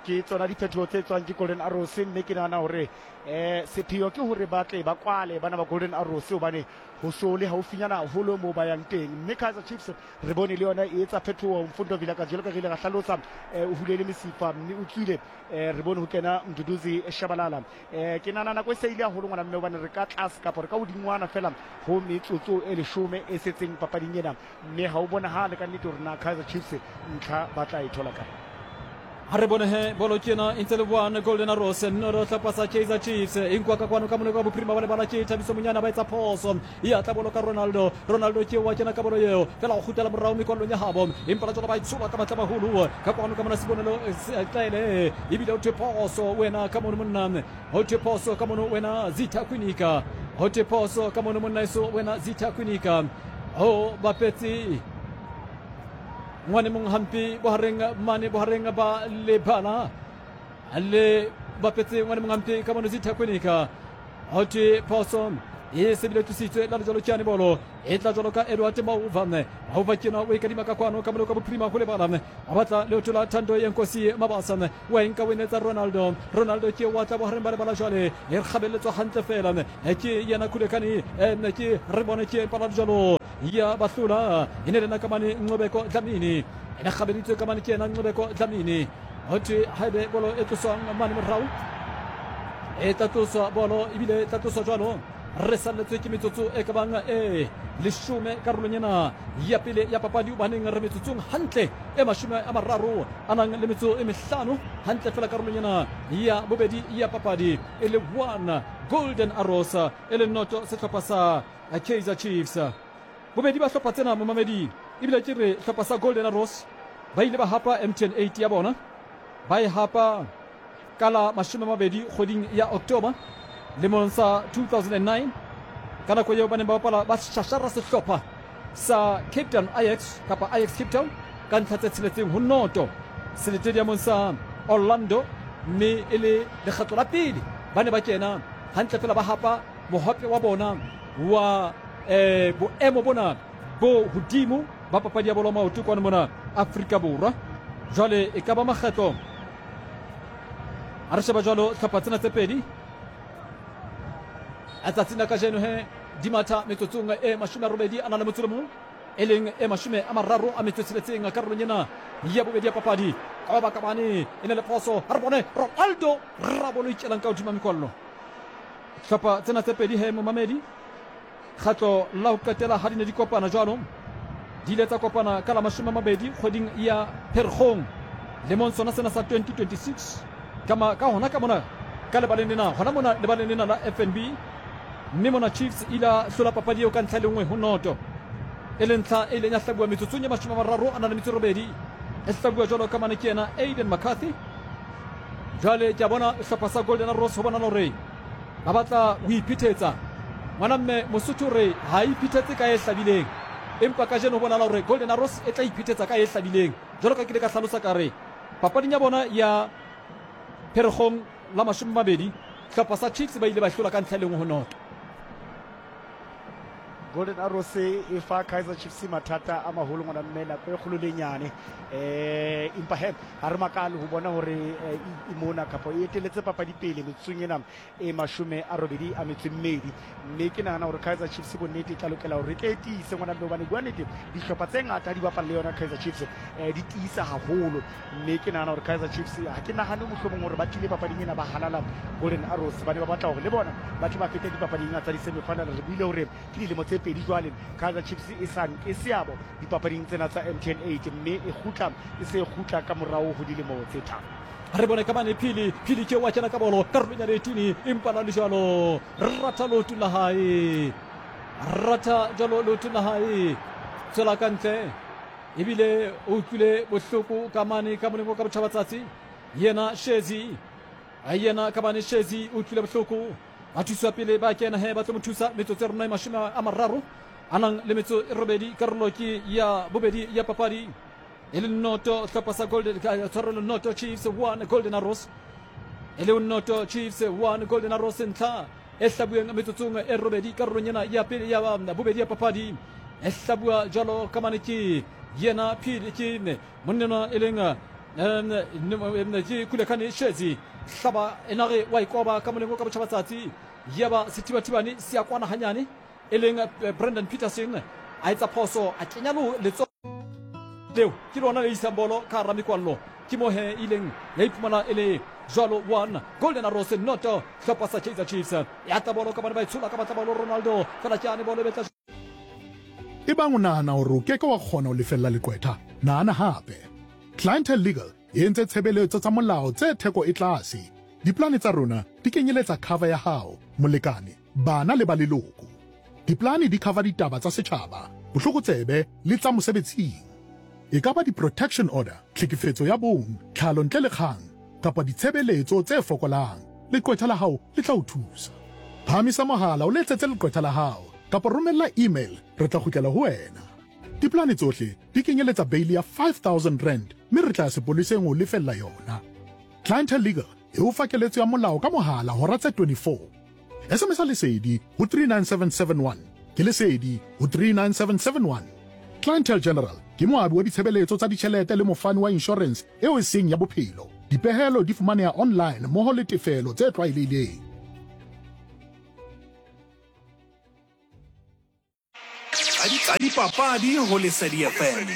[SPEAKER 4] Ke tsona diphetoho tse tswang ke Golden Arrows, mme ke nahana hore eh sepheo ke hore ba tle ba kwale bana ba Golden Arrows, hobane ho so le haufinyana haholo moo ba yang teng. Mme Kaizer Chiefs re bone le yona e etsa phetoho. Mfundo Vilakazi jwalo ka re ile ra hlalosa, o hulele mesifa mme o tswile, re bone ho kena Mduduzi Shabalala. Eh ke nahana nako e se ile haholo ngwana mme, hobane re ka tlase kapa re ka hodingwana fela ho metsotso e leshome e setseng papading ena, mme ha o bonahale ka nnete hore na Kaizer Chiefs ntlha ba tla e thola kae.
[SPEAKER 1] Ha re bone he bolo ke ena e ntse le one Golden Arrows noro hlopha sa Kaizer Chiefs e nkwa ka kwano ka mone ka bophirima ba lebala ke Thabiso Monyane ba etsa phoso e atla bolo ka Ronaldo. Ronaldo ke wa kena ka bolo eo fela o kgutlela morao mekwallong ya habo empa la tsona ba itshola ka matla maholo ka kwano ka mona Sibonelo Tlaele ebile o thwe phoso wena ka mono monna ho thwe phoso ka mono wena Zitha Kwinika ho thwe phoso ka mono monna eso wena Zitha Kwinika ho bapetse ngwane mong hampe bohareng mane bohareng ba lebala le bapetse ngwane mongampe ka mono Zitha Kwinika ho thwe phoso e sebile tlositswe la lejalo ke bolo e tla jalo ka Edward Mauva Mauva ke na o e kadima ka kwano ka moloko bophirima go lebala a batla leoto la Thando Yenkosi Mabasa wa enka o netsa Ronaldo Ronaldo ke wa tla bohareng ba lebala jwale e kgabeletswa hantle fela ke yena Khulekani ke re bone ke pala jalo ya bahlula e ne lena ka mane Nqobeko Dlamini e ne kgabeditswe ka mane ke yena Nqobeko Dlamini ho thwe haebe bolo e tloswang mane morao e tla tloswa bolo ebile e tla tloswa jwalo re salletswe ke metsotso e ka bang e leshome karolong ena ya pele ya papadi hobaneng re metsotsong hantle e mashome a mararo a nang le metso e mehlano hantle fela karolong ena ya bobedi ya papadi e le one Golden Arrows e le noto sehlopha sa Kaizer Chiefs. Bobedi ba hlopha tsena momamedi ebile ke re hlopha sa Golden Arrows ba ile ba hapa M T N eight ya bona ba e hapa ka la mashome a mabedi kgweding ya October lemong sa two thousand nine ka nako eo ba neng ba bapala ba shashara sehlopha sa Cape Town Ajax kapa Ajax Cape Town ka ntlha tse tsheletseng ho noto seletediamong sa Orlando mme e le lekgetlo la pele ba ne ba kena hantle fela ba hapa mohope wa bona wa eh, boemo bona bo hodimo ba papadi ya bolo maoto kwano mona Afrika Borwa. Jwale e ka ba makgetlo a re sheba jwalo hlopha tsena tse pedi a tsatsing la kajeno he di matha metsotsong e mashome a robedi a na le motso le mong e leng e mashome a mararo a metso e tsheletseng karolong ena ya bobedi ya papadi ka ba kabane e ne le phoso a re bone Ronaldo rabolo ikelang ka hodima mekwallo. Hlopha tsena tse pedi he momamedi kgatlo la ho qetela ha di ne di kopana jwalo di ile tsa kopana ka la mashome a mabedi kgweding ya Pherekgong lemong sona sena sa twenty twenty-six ka ka hona ka mona ka lebaleng lena hona mona lebaleng lena la F N B mme mona Chiefs ila hlola papadi eo ka ntlha le nngwe ho noto e le ntlha e ileng ya hlabuwa metsotsong ya mashome a mararo a na le metso e robedi e hlabuwa jwalo ka mane ke yena Aiden McCarthy. Jwale ke a bona sehlopha sa Golden Arrows ho bona hore ba batla ho iphethetsa ngwana mme Mosotho re ha iphethetse ka e hlabileng empa kajeno ho bonahala hore Golden Arrows e tla iphethetsa ka e hlabileng jwalo ka ke ile ka hlalosa ka re papading ya bona ya Pherekgong la mashome a mabedi hlopha sa Chiefs ba ile ba hlola ka ntlha e le nngwe ho noto.
[SPEAKER 4] Golden Arrows e fa Kaizer Chiefs mathata a maholo ngwana mme nako e kgolo le nyane eh empa he ha re makale ho bona hore e mona kapa e eteletse papadi pele metsotsong ena e mashome a robedi a metso e mmedi mme ke nahana hore Kaizer Chiefs bonnete e tla lokela hore e tle e tiise ngwana mme hobane bua nnete dihlopha tse ngata di bapala le yona Kaizer Chiefs eh di tiisa haholo mme ke nahana hore Kaizer Chiefs ha ke nahane mohlomong hore ba tlile papading ena ba halala Golden Arrows ba ne ba batla hore le bona ba tle ba fete dipapading tsa di-semi-final. Re buile hore ke dilemo tse pedi jwale Kaizer Chiefs e sa nke seabo dipapading tsena tsa M T N eight mme e kgutla e se kgutla ka morao ho dilemo tse tharo.
[SPEAKER 1] Re bone ka mane Phili Phili ke wa kena ka bolo karolong ya letini empa la le jwalo ratha leoto la hae ratha jwalo leoto la hae tswela ka ntle ebile o utlwile bohloko ka mane ka molemo ka botjhabatsatsi yena Shezi yena ka mane Shezi o utlwile bohloko ba thuswa pele ba kena he ba tlo mo thusa metsotso ya rona e mashome a mararo a nang le metso e robedi karolo ke ya bobedi ya papadi e le noto hlopha sa Golden tshwarelo noto Chiefs one Golden Arrows e le noto Chiefs one Golden Arrows ntlha e hlabuweng metsotsong e robedi karolong ena ya pele ya bobedi ya papadi e hlabuwa jwalo ka mane ke yena Phili ke monnena e leng ke Khulekani Shezi hlaba enare wa ikoba ka molemo ka botjhabatsatsi ya ba sethibathibane se ya kwana hanyane e leng Brandon Peterson a etsa phoso a kenya letsoho leo ke lona le isang bolo ka hara mekwallo ke mo he ileng ya iphumana e le jwalo one Golden Arrows noto hlopha sa Kaizer Chiefs ya tla bolo ka bana ba itshola ka batla bolo Ronaldo fela ke ane bolo e betla.
[SPEAKER 5] Ebang o nahana hore o ke ke wa kgona ho lefella leqwetha nahana hape. Clientele Legal e entse tshebeletso tsa molao tse theko e tlase. Diplane tsa rona di kenyeletsa cover ya hao, molekane, bana le ba leloko. Diplane di cover ditaba tsa setjhaba, bohlokotsebe le tsa mosebetsing. E ka ba di-protection order, tlhekefetso ya bong, tlhalo ntle le kgang, kapa ditshebeletso tse fokolang. Leqwetha la hao le tla o thusa. Phahamisa mohala o letsetse leqwetha la hao kapa romella email, re tla kgutlela ho wena. Diplane tsohle di kenyeletsa bail ya five thousand rand mme re tla ya sepoleseng ho lefella yona. Clientele Legal e o fa keletso ya molao ka mohala hora tse twenty-four. S M S Lesedi ho three nine seven seven one. Ke Lesedi ho three nine seven seven one. Clientele General ke moabi wa ditshebeletso tsa ditjhelete le mofani wa insurance eo e seng ya bophelo. Dipehelo di fumaneha online mmoho le tefelo tse tlwaelehileng.
[SPEAKER 3] Tsa dipapadi ho Lesedi F M.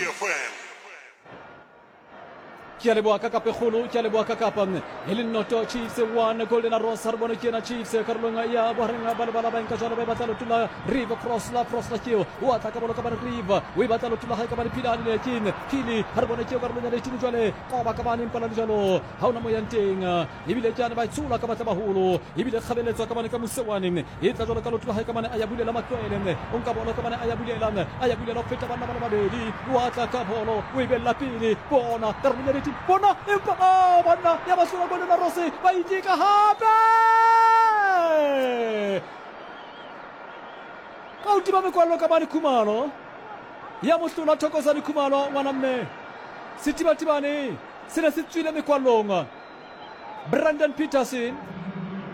[SPEAKER 1] Ke a leboha ka kapekgolo, ke a leboha ka kapa e le noto Chiefs one Golden Arrows. Ha re bone ke ena Chiefs karolong ya bohareng ba lebala ba nka jwalo, ba e batla leoto la Rive Cross la Cross la keo o atla ka bolo ka bane Rive o e batla leoto la hae ka bane Philane le King Phili. Ha re bone ke karolong ya leshome jwale koba ka bane mpala le jwalo ha ona moyang teng, ebile ke ane ba tshola ka batla baholo, ebile kgabeletswa ka bane ka Mosewane e tla jwalo ka leoto la hae ka bane a ya bulela matlwele, o nka bolo ka bane a ya bulela a ya bulela ho feta banna ba le babedi, o atla ka bolo o e bella pele bona karolong ya bona empa oh banna ya ba hlola Golden Arrows ba itika hape ka ho tiba mekwallo ka bane Khumalo ya mohlola Thokozani Khumalo ngwana mme Setibatibane se ne se tswile mekwallong Brandon Peterson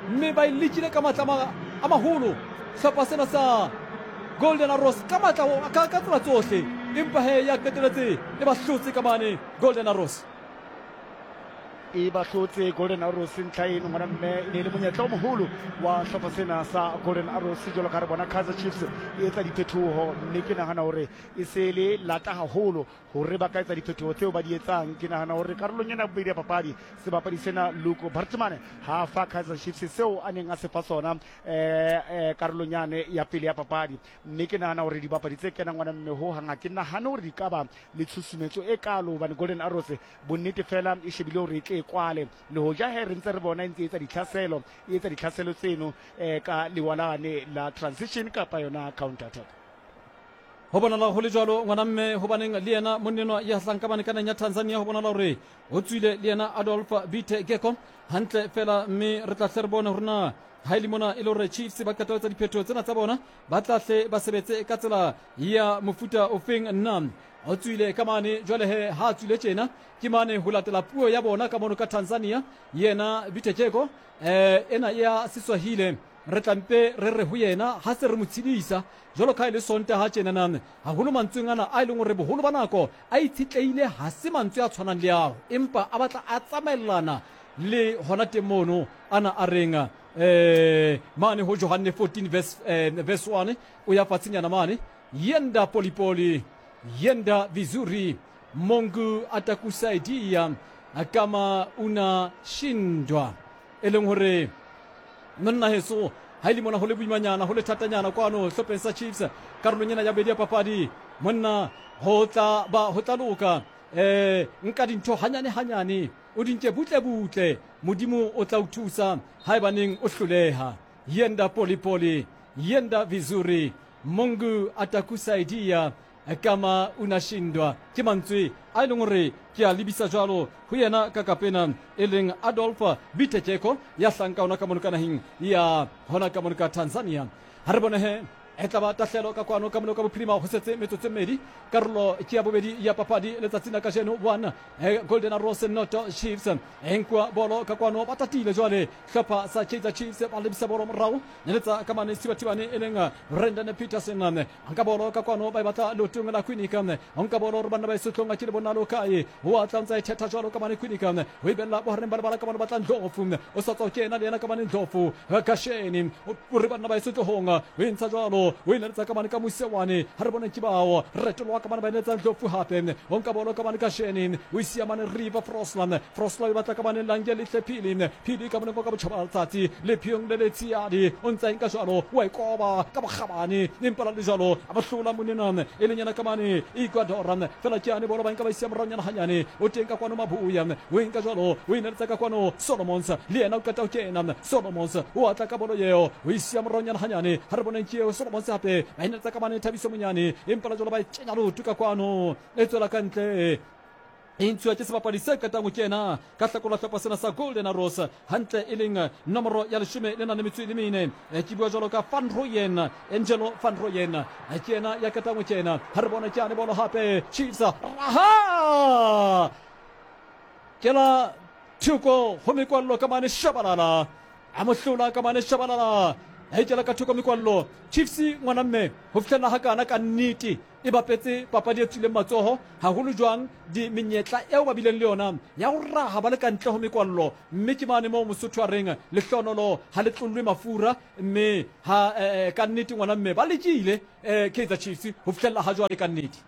[SPEAKER 1] mme ba e lekile ka matla a maholo hlopha sena sa Golden Arrows ka matla ka ka tsela tsohle, empa he ya qeteletse e ba hlotse ka mane Golden Arrows.
[SPEAKER 4] E ba hlotse Golden Arrows ntlha eno ngwana mme e ne le monyetla o moholo wa hlopha sena sa Golden Arrows jwalo ka re bona Kaizer Chiefs e etsa diphetoho, mme ke nahana hore e se le lata haholo hore ba ka etsa diphetoho tseo ba di etsang. Ke nahana hore karolong ena ya bobedi ya papadi sebapadi sena Luko Bartman ha fa Kaizer Chiefs seo a neng a se fa sona eh karolong yane ya pele ya papadi, mme ke nahana hore dibapadi tse kenang ngwana mme ho hang ha ke nahane hore di ka ba le tshusumetso e kalo hobane Golden Arrows bonnete fela e shebile hore e tle kwale le hoja he re ntse re bona e ntse e etsa ditlhaselo e etsa ditlhaselo tseno eh ka lewalane la transition kapa yona counter attack.
[SPEAKER 1] Ho bonala ho le jwalo ngwana mme hobaneng le yena monnenwa ya hlang ka bane ka naheng ya Tanzania ho bonala hore o tswile le yena Adolf Bite Geko hantle fela, mme re tla hle re bone hore na ha e le mona e le hore Chiefs ba qeta ho etsa diphetoho tsena tsa bona ba tla hle ba sebetse ka tsela ya mofuta ofeng nna. O tswile ka mane jwale he ha tswile tjena ke mane ho latela puo ya bona ka mono ka Tanzania yena Bite Geko eh ena ya Seswahili re tlampe re re ho yena ha se re mo tshedisa jwalo ka e le Sontaha tjena nana haholo mantsweng ana a e leng hore boholo ba nako a itshetleile ha se mantswe a tshwanang le ao, empa a batla a tsamaellana le hona teng mono ana a reng eh mane ho Johanne fourteen verse eh, verse one o ya fatshenyana mane yenda polipoli yenda vizuri Mungu atakusaidia kama unashindwa, e leng hore monna heso ha ile mona ho le boimanyana ho le thatanyana kwano hlopheng sa Chiefs karolong ena ya bobedi ya papadi monna ho tla ba ho tla loka eh nka dintho hanyane hanyane o di nke butle butle Modimo o tla o thusa haebaneng o hloleha. Yenda polipoli yenda vizuri Mungu atakusaidia kama unashindwa, ke mantswe a e leng hore ke a lebisa jwalo ho yena ka kapena e leng Adolf Bitekeko ya hlanka hona ka mono ka naheng ya hona ka mono ka Tanzania. Ha re bone he e tla ba tahlelo ka kwano ka mono ka bophirima ho setse metsotso e mmedi karolo ke ya bobedi ya papadi letsatsing la kajeno one Golden Arrows noto Chiefs e nkwa bolo ka kwano ba tatile jwale hlopha sa Kaizer Chiefs ba lebisa bolo morao neletsa ka mane Sibatibane e leng Brendan Peterson nka bolo ka kwano ba e batla leotong la Kwinika nka bolo hore banna ba e sotlong a ke le bona lo kae ho atla ntsa e thetha jwalo ka mane Kwinika ho e bella bohareng ba lebala ka mane batla Ndlovu o sa tswa kena le yena ka mane Ndlovu Kasheni o re banna ba e sotlohong o e ntsha jwalo o e neletsa ka mane ka Mosewane ha re bone ke bao retoloa ka mane ba neletsa Ndlovu hape o nka bolo ka mane Kasheni o isia mane River Frosland Frosland e batla ka mane Lange Lehle Phili Phili ka mane ka botjhaba letsatsi le phiong le Letsiadi o ntsa nka jwalo wa e koba ka bokgabane empa la le jwalo a ba hlola monena e leng yena ka mane Ecuador fela ke ane bolo ba nka ba isia moraonyana hanyane o teng ka kwano Mabuya o nka jwalo o e neletsa ka kwano Solomons le yena o qeta ho kena Solomons o atla ka bolo eo o isia moraonyana hanyane ha re boneng ke eo Solomons hape ba e neletsa ka mane Thabiso Monyane empa la jwalo ba e kenya leoto ka kwano e tswela ka ntle e ntshuwa ke sebapadi se qetang ho kena ka hlakola hlopha sena sa Golden Arrows hantle e leng nomoro ya leshome le nang le metso e le mene ke bua jwalo ka Van Rooyen Angelo Van Rooyen ke yena ya qetang ho kena ha re bone ke ane bolo hape Chiefs raha ke la Thoko ho mekwallo ka mane Shabalala, a mo hlola ka mane Shabalala, a ikela ka thoko mekwallo. Chiefs ngwana mme ho fihlela ha kana ka nnete e bapetse papadi e tswileng matsoho haholo jwang di menyetla eo ba bileng le yona ya ho raha ba le ka ntle ho mekwallo, mme ke mane moo Mosotho a reng lehlohonolo ha le tlollwe mafura, mme ha eh, ka nnete ngwana mme ba lekile eh, Kaizer Chiefs ho fihlela ha jwale ka nnete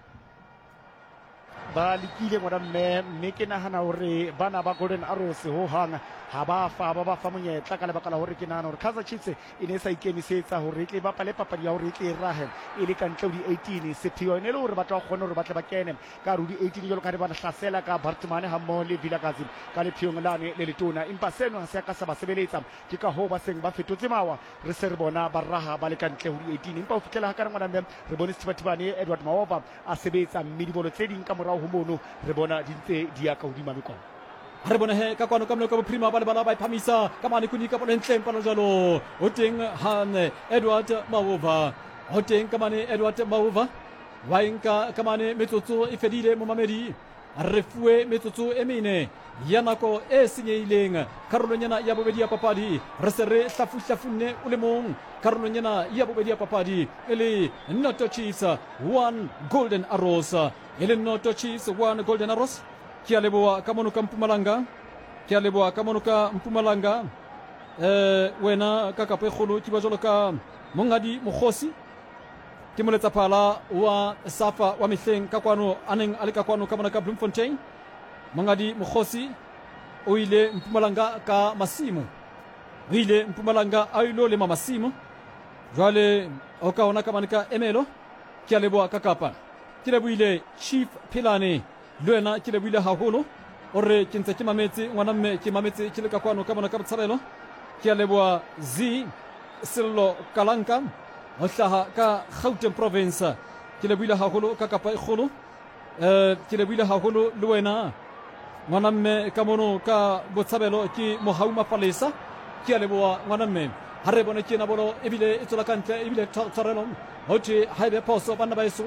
[SPEAKER 4] ba lekile ngwana mme, mme ke nahana hore bana ba Golden Arrows ho hang ha ba fa ba ba fa monyetla ka lebaka la hore ke nahana hore Kaizer Chiefs e ne e sa ikemisetsa hore e tle bapale papadi ya hore e tle e rahe e le ka ntle ho di-eighteen. Sepheo e ne le hore batho ba kgone hore ba tle ba kene ka hare ho di-eighteen jwalo ka ha ba hlasela ka Bartman ha mmoho le Vilakazi ka lepheong lane le letona, empa seno ha se a ka sa ba sebeletsa. Ke ka hoo ba seng ba fetotse mawa, re se re bona ba raha ba le ka ntle ho di-eighteen. Empa ho fihlela ha kana ngwana mme re bone Sethibathibane Edward Maova a sebetsa, mme dibolo tse ding ka morao ho mono re bona di ntse di ya ka hodima mekwallo.
[SPEAKER 1] Re bone he ka kwano ka moleko bophirima ba lebala ba iphamisa ka mane Kunika bolo ntle mpano jwalo ho teng han Edward Maova, ho teng ka mane Edward Maova wa nka ka mane. Metsotso e fedile momamedi, re fuwe metsotso e mene ya nako e senyehileng karolong ena ya bobedi ya papadi. Re se re hlafuhlafunne o le mong karolong ena ya bobedi ya papadi, e le Noto Chiefs one Golden Arrows, e le Noto Chiefs one Golden Arrows. Ke a leboha ka mono ka Mpumalanga, ke a leboha ka mono ka Mpumalanga. Eh, wena ka kapa e kgolo ke ba jwalo ka Monghadi Mokgosi, ke moletsaphala wa Safa wa mehleng ka kwano a neng a le ka kwano ka mona ka Bloemfontein. Monghadi Mokgosi o ile Mpumalanga ka masimo, o ile Mpumalanga a ilo lema masimo. Jwale o ka ona ka mane ka Emelo. Ke a leboha ka Kapa, ke lebohile Chief Phelane, le wena ke lebohile haholo. O re ke ntse ke mametse ngwana mme, ke mametse ke le ka kwano ka mona ka Botshabelo. Ke a leboha Z Sello Kalanka ho hlaha ka Gauteng province, ke lebohile haholo ka Kapa e kgolo. Eh, ke lebohile haholo le wena ngwana mme ka mono ka Botshabelo, ke Mohau Mapalesa, ke a leboha ngwana mme. Ha re bone ke ena bolo ebile e tswela ka ntle, ebile tshwarelo ho thwe ha ebe phoso banna ba eso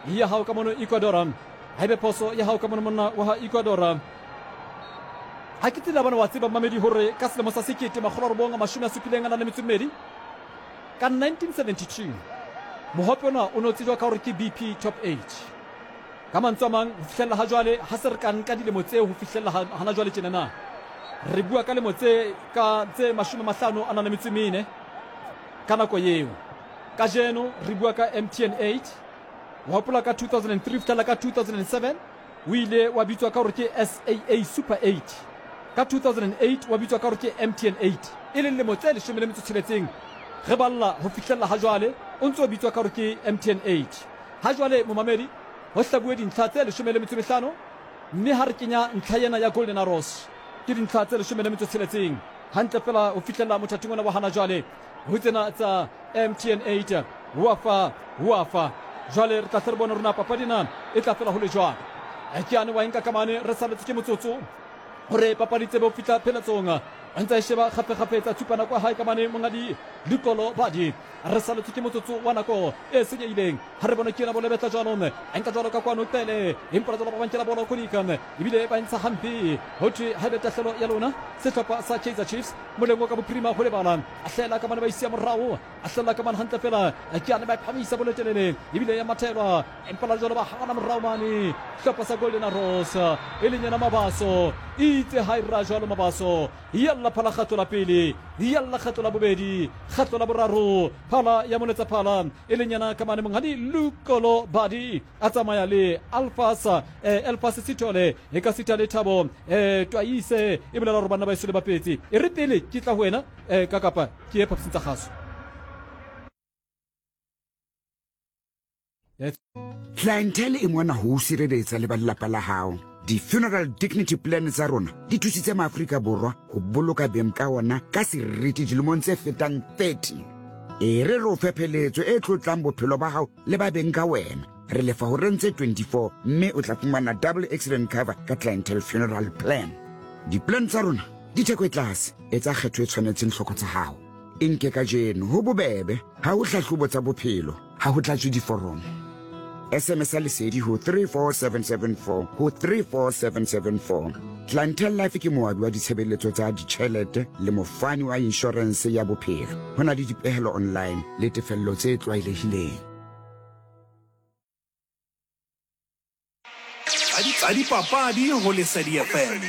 [SPEAKER 1] ya hao ka mono Ecuador, ha ebe phoso ya hao ka mono monna wa ha Ecuador. Ha ke tsela bana wa tseba mamedi hore ka selemo sa sekete makgolo a robong a mashome a supileng a nang le metso e mmedi ka nineteen seventy-two mohope ona o no tsejwa ka hore ke B P Top eight. Ka mantswe a mang ho fihlella ha jwale ha se re ka nka dilemo tseo ho fihlella hana jwale tjena na re bua ka lemo tse ka tse mashome mahlano a nang le metso e mene ka nako eo. Kajeno re bua ka M T N eight. Wa hopola ka two thousand and three fihlela ka two thousand and seven o ile wa bitswa ka hore ke S A A Super eight. Ka two thousand and eight wa bitswa ka hore ke M T N eight, e leng lemo tse leshome le metso tsheletseng re balla ho fihlella ha jwale o ntso bitswa ka hore ke M T N eight. Ha jwale momamedi ho hlabuwe dintlha tse leshome le metso mehlano, mme ha re kenya ntlha ena ya Golden Arrows ke dintlha tse leshome le metso tsheletseng hantle fela ho fihlella mothating ona wa hana jwale ho tsena tsa M T N eight. Wa fa wa fa jwale re tla hle re bone rona papadi na e tla fela ho le jwang. Ke ane wa nka kamane re saletse ke motsotso hore papadi tsebe ho fihla pheletsong. A ntse a sheba kgafekgafetsa tshupa nako ya hae ka mane Monghadi Likolo Badi. Re saletse ke motsotso wa nako e senyehileng. Ha re bone ke ena bolo e betla jwalo, a nka jwalo ka kwano Qele, empa jwalo ba bankela bolo Kodika, ebile ba ntsha hampe. Ho thwe ha ebe tahlelo ya lona sehlopha sa Kaizer Chiefs moleng wa ka bophirima ho lebala. A hlela ka mane ba isia morao, a hlela ka mane hantle fela. Ke ane ba phamisa bolo telele, ebile ya mathelwa, empa la jwalo ba hana morao mane sehlopha sa Golden Arrows e leng yena Mabaso. Itse ha e ra jwalo Mabaso, yalla phala kgato la pele, yalla kgato la bobedi, kgato la boraro, phala ya moletsa phala e leng yena ka mane Monghadi Lukolo Badi a tsamaya le Alphas eh, Elphas Sithole e ka sitha le Thabo eh, Twaise e bolela hore banna ba eso le bapetse. E re pele ke tla ho wena eh, ka kapa ke ye phapusing tsa kgaso.
[SPEAKER 2] Clientele e mona ho o sireletsa le ba lelapa la hao. Di-funeral dignity plan tsa rona di thusitse maAfrika Borwa ho boloka beng ka ona ka seriti dilemong tse fetang thirty. E re re o fe pheletso e tlotlang bophelo ba hao le ba beng ka wena. Re lefa horeng tse twenty-four mme o tla fumana double accident cover ka Clientele Funeral Plan. Di-plan tsa rona di theko e tlase, etsa kgetho e tshwanetseng tlhoko tsa hao. E nke kajeno ho bobebe, ha ho hlahlobo tsa bophelo, ha ho tlatswe diforomo. S M S a lesedi ho three four seven seven four ho three four seven seven four. Clientele Life ke moabi wa ditshebeletso tsa ditjhelete le mofani wa inshorense ya bophelo. Ho na le dipehelo online le tefello tse tlwaelehileng.
[SPEAKER 3] Tsa dipapadi ho Lesedi F M.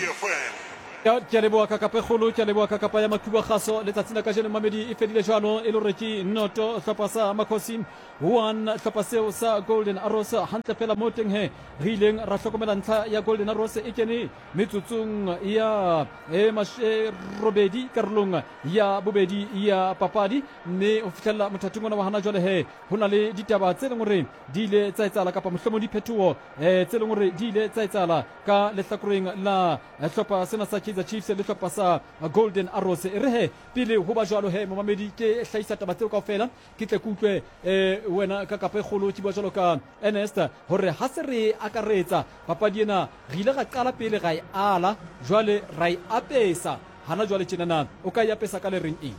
[SPEAKER 1] Ke a leboha ka kapa e kgolo, ke a leboha ka kapa ya Makhubo Kgaso. Letsatsing la kajeno mamedi e fedile jwalo e le hore ke noto hlopha sa Makhosi one hlopha seo sa Golden Arrows. Hantle fela mo teng he re ileng ra hlokomela ntlha ya Golden Arrows e kene metsotsong ya e mashe robedi karolong ya bobedi ya papadi, mme ho fihlella mothating ona wa hana jwale he ho na le ditaba tse leng hore di ile tsa etsahala kapa mohlomong diphetoho eh tse leng hore di ile tsa etsahala ka lehlakoreng la hlopha sena sa Kaizer Chiefs le hlopha sa Golden Arrows. E re he pele ho ba jwalo he momamedi ke hlahisa taba tseo kaofela ke tle ke utlwe eh wena ka kapa e kgolo ke bua jwalo ka Ernest hore ha se re akaretsa papadi ena re ile ra qala pele ra e ala jwale ra e apesa hana jwale tjenana o ka e apesa ka le reng eng?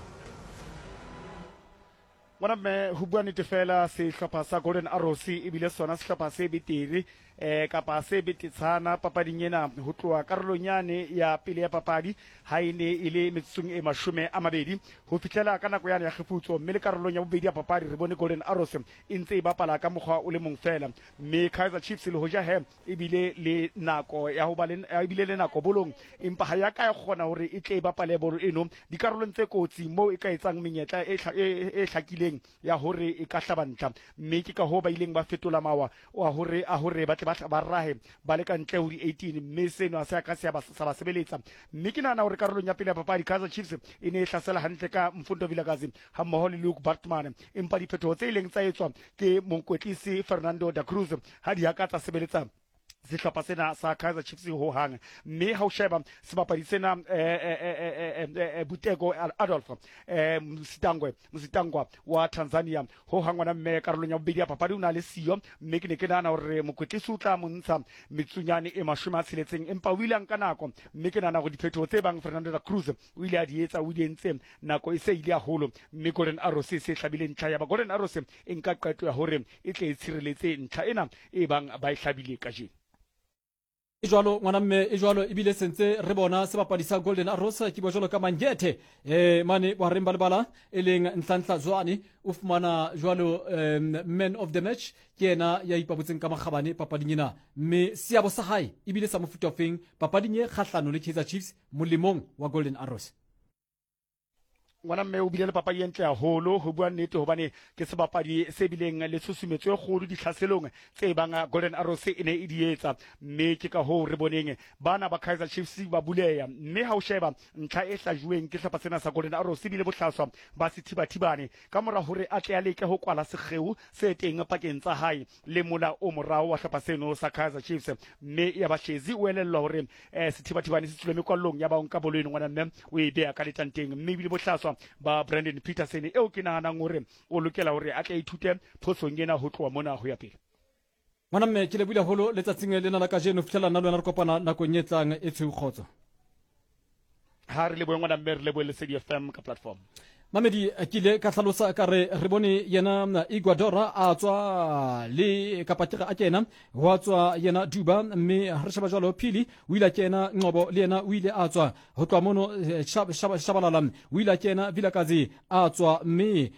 [SPEAKER 4] Ngwana mme ho bua nnete fela sehlopha sa Golden Arrows ebile sona sehlopha se betere eh kapa se betetshana papading ena ho tloha karolong yane ya pele ya papadi ha e ne e le metsotsong e mashome a mabedi ho fihlela ka nako yane ya kgefutso, mme le karolong ya bobedi ya papadi re bone Golden Arrows e ntse e bapala ka mokgwa o le mong fela, mme Kaizer Chiefs le hoja he ebile le nako ya ho ba le ebile le nako bolong, empa ha ya ka ya kgona hore e tle e bapale bolo eno dikarolong tse kotsi moo e ka etsang menyetla e e hlakileng ya hore e ka hlaba ntlha, mme ke ka hoo ba ileng ba fetola mawa wa hore a hore ba tle ba ba rahe ba le ka ntle ho di eighteen, mme seno ha se a ka se sa ba sebeletsa. Mme ke nahana hore karolong ya pele ya papadi Kaizer Chiefs e ne e hlasela hantle ka Mfundo Vilakazi ha mmoho le Luke Bartman, empa diphetoho tse ileng tsa etswa ke mokwetlisi Fernando da Cruz ha di a ka tsa sebeletsa sehlopha sena sa Kaizer Chiefs ho hang. Mme ha o sheba sebapadi sena Buteko Adolf Msitangwe Msitangwa wa Tanzania ho hang ngwana mme karolong ya bobedi ya papadi o na le siyo, mme ke ne ke nahana hore mokwetlisi o tla mo ntsha metsunyane e mashome a tsheletseng, empa o ile a nka nako, mme ke nahana hore diphetoho tse bang Fernando da Cruz o ile a di etsa o di entse nako e se ile haholo, mme Golden Arrows e se hlabile ntlha ya ba Golden Arrows e nka qeto ya hore e tle e tshireletse ntlha ena e bang ba e hlabile kajeno.
[SPEAKER 1] E jwalo ngwana mme e jwalo ebile sentse re bona sebapadi sa Golden Arrows ke bua jwalo ka Mangethe eh mane bohareng ba lebala e leng Nhlanhla Zwane o fumana jwalo man of the match ke yena ya ipabotseng ka makgabane papading ena, mme seabo sa hae ebile sa mofuta ofeng papading e kgahlano le Kaizer Chiefs molemong wa Golden Arrows.
[SPEAKER 4] Ngwana mme o bile le papadi e ntle haholo ho bua nnete, hobane ke sebapadi se bileng le tshusumetso e kgolo ditlhaselong tse bang Golden Arrows e ne e di etsa, mme ke ka hoo re boneng bana ba Kaizer Chiefs ba buleya. Mme ha o sheba ntlha e hlajuweng ke sehlopha sena sa Golden Arrows ebile bohlaswa ba sethibathibane ka mora hore a tle a leke ho kwala sekgeo se teng pakeng tsa hae le mola o morao wa sehlopha seno sa Kaizer Chiefs, mme ya ba Shezi o elellwa hore sethibathibane se tswile mekwallong ya ba o nka bolo eno ngwana mme o e beha ka letanteng, mme ebile bohlaswa ba Brandon Peterson eo ke nahanang hore o lokela hore a tle ithute phosong ena ho tloha mona ho ya pele.
[SPEAKER 1] Ngwana mme ke lebohile haholo letsatsing lena la kajeno, fihlela nna le wena re kopana nakong e tlang e tshweu kgotso.
[SPEAKER 4] Ha re lebohe ngwana mme, re lebohe Lesedi F M ka platform.
[SPEAKER 1] Mamedi ke ile ka hlalosa ka re re bone yena Iguadora a tswa le kapa ke a kena wa tswa yena Duba, mme ha re sheba jwalo Phili o ile a kena, Nqobo le yena o ile a tswa ho tloha mono Shabalala o ile a kena, Vilakazi a tswa, mme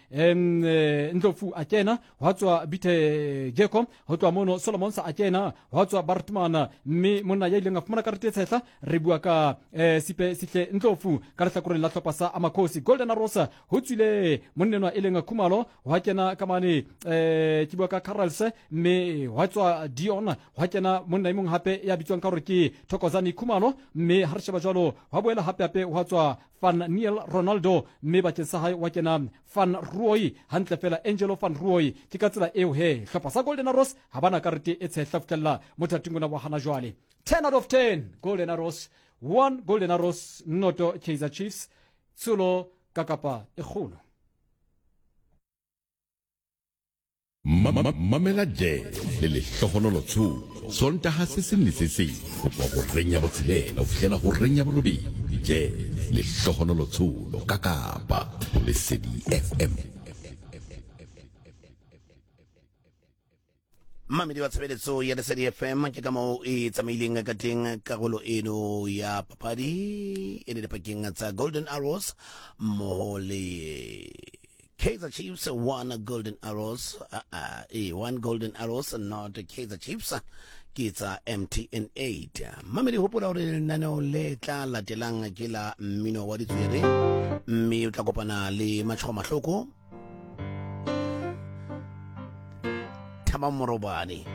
[SPEAKER 1] Ndlovu a kena, hwa tswa Bithe Geko ho tloha mono Solomons a kena, hwa tswa Bartman, mme monna ya ileng a fumana karete e tshehla re bua ka Sipe Sihle Ndlovu ka lehlakoreng la hlopha sa Amakhosi. Golden Arrows ho tswile monnenwa e leng Khumalo, hwa kena ka mane eh ke bua ka Carels, mme hwa tswa Dion, hwa kena monna e mong hape ya bitswang ka hore ke Thokozani Khumalo, mme ha re sheba jwalo hwa boela hape hape hwa tswa Van Niel Ronaldo, mme bakeng sa hae wa kena Van Rooy hantle fela Angelo Van Rooy. Ke ka tsela eo he hlopha sa Golden Arrows ha bana karete e tshehla fihlella mothating ona wa hana jwale. ten out of ten Golden Arrows, one Golden Arrows noto Kaizer Chiefs, tsholo ka kapa e kgolo.
[SPEAKER 6] Mamela Jazz le lehlohonolo Tsholo Sontaha se seng le se seng ho tloha horeng ya botshelela ho fihlela horeng ya borobedi. Jazz lehlohonolo Tsholo ka Kapa ho Lesedi F M.
[SPEAKER 7] Mmamedi wa tshebeletso ya Lesedi F M, ke ka moo e tsamaileng ka teng karolo eno ya papadi e le dipakeng tsa Golden Arrows mmoho le Kaizer Chiefs. One Golden Arrows, uh, uh, eh, one Golden Arrows, not Kaizer Chiefs, ke tsa M T N eight. Mmamedi, hopola hore lenaneo le tla latelang ke la mmino wa ditswere, mme o tla kopana le Matshwa Mahloko, Thaba Morobane.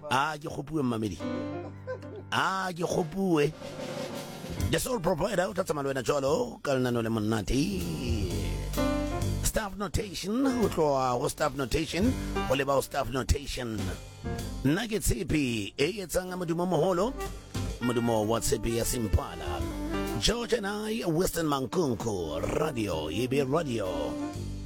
[SPEAKER 7] A ke kgopuwe mmamedi, a ke kgopuwe. The Soul Provider o tla tsamaya le wena jwalo ka lenaneo le monate. Staff Notation, ho tloha ho Staff Notation ho leba ho Staff Notation. Nna ke tshepe e etsang modumo moholo, modumo wa tshepe ya Simpala. George and I, Western Mankunku, Radio, E B Radio.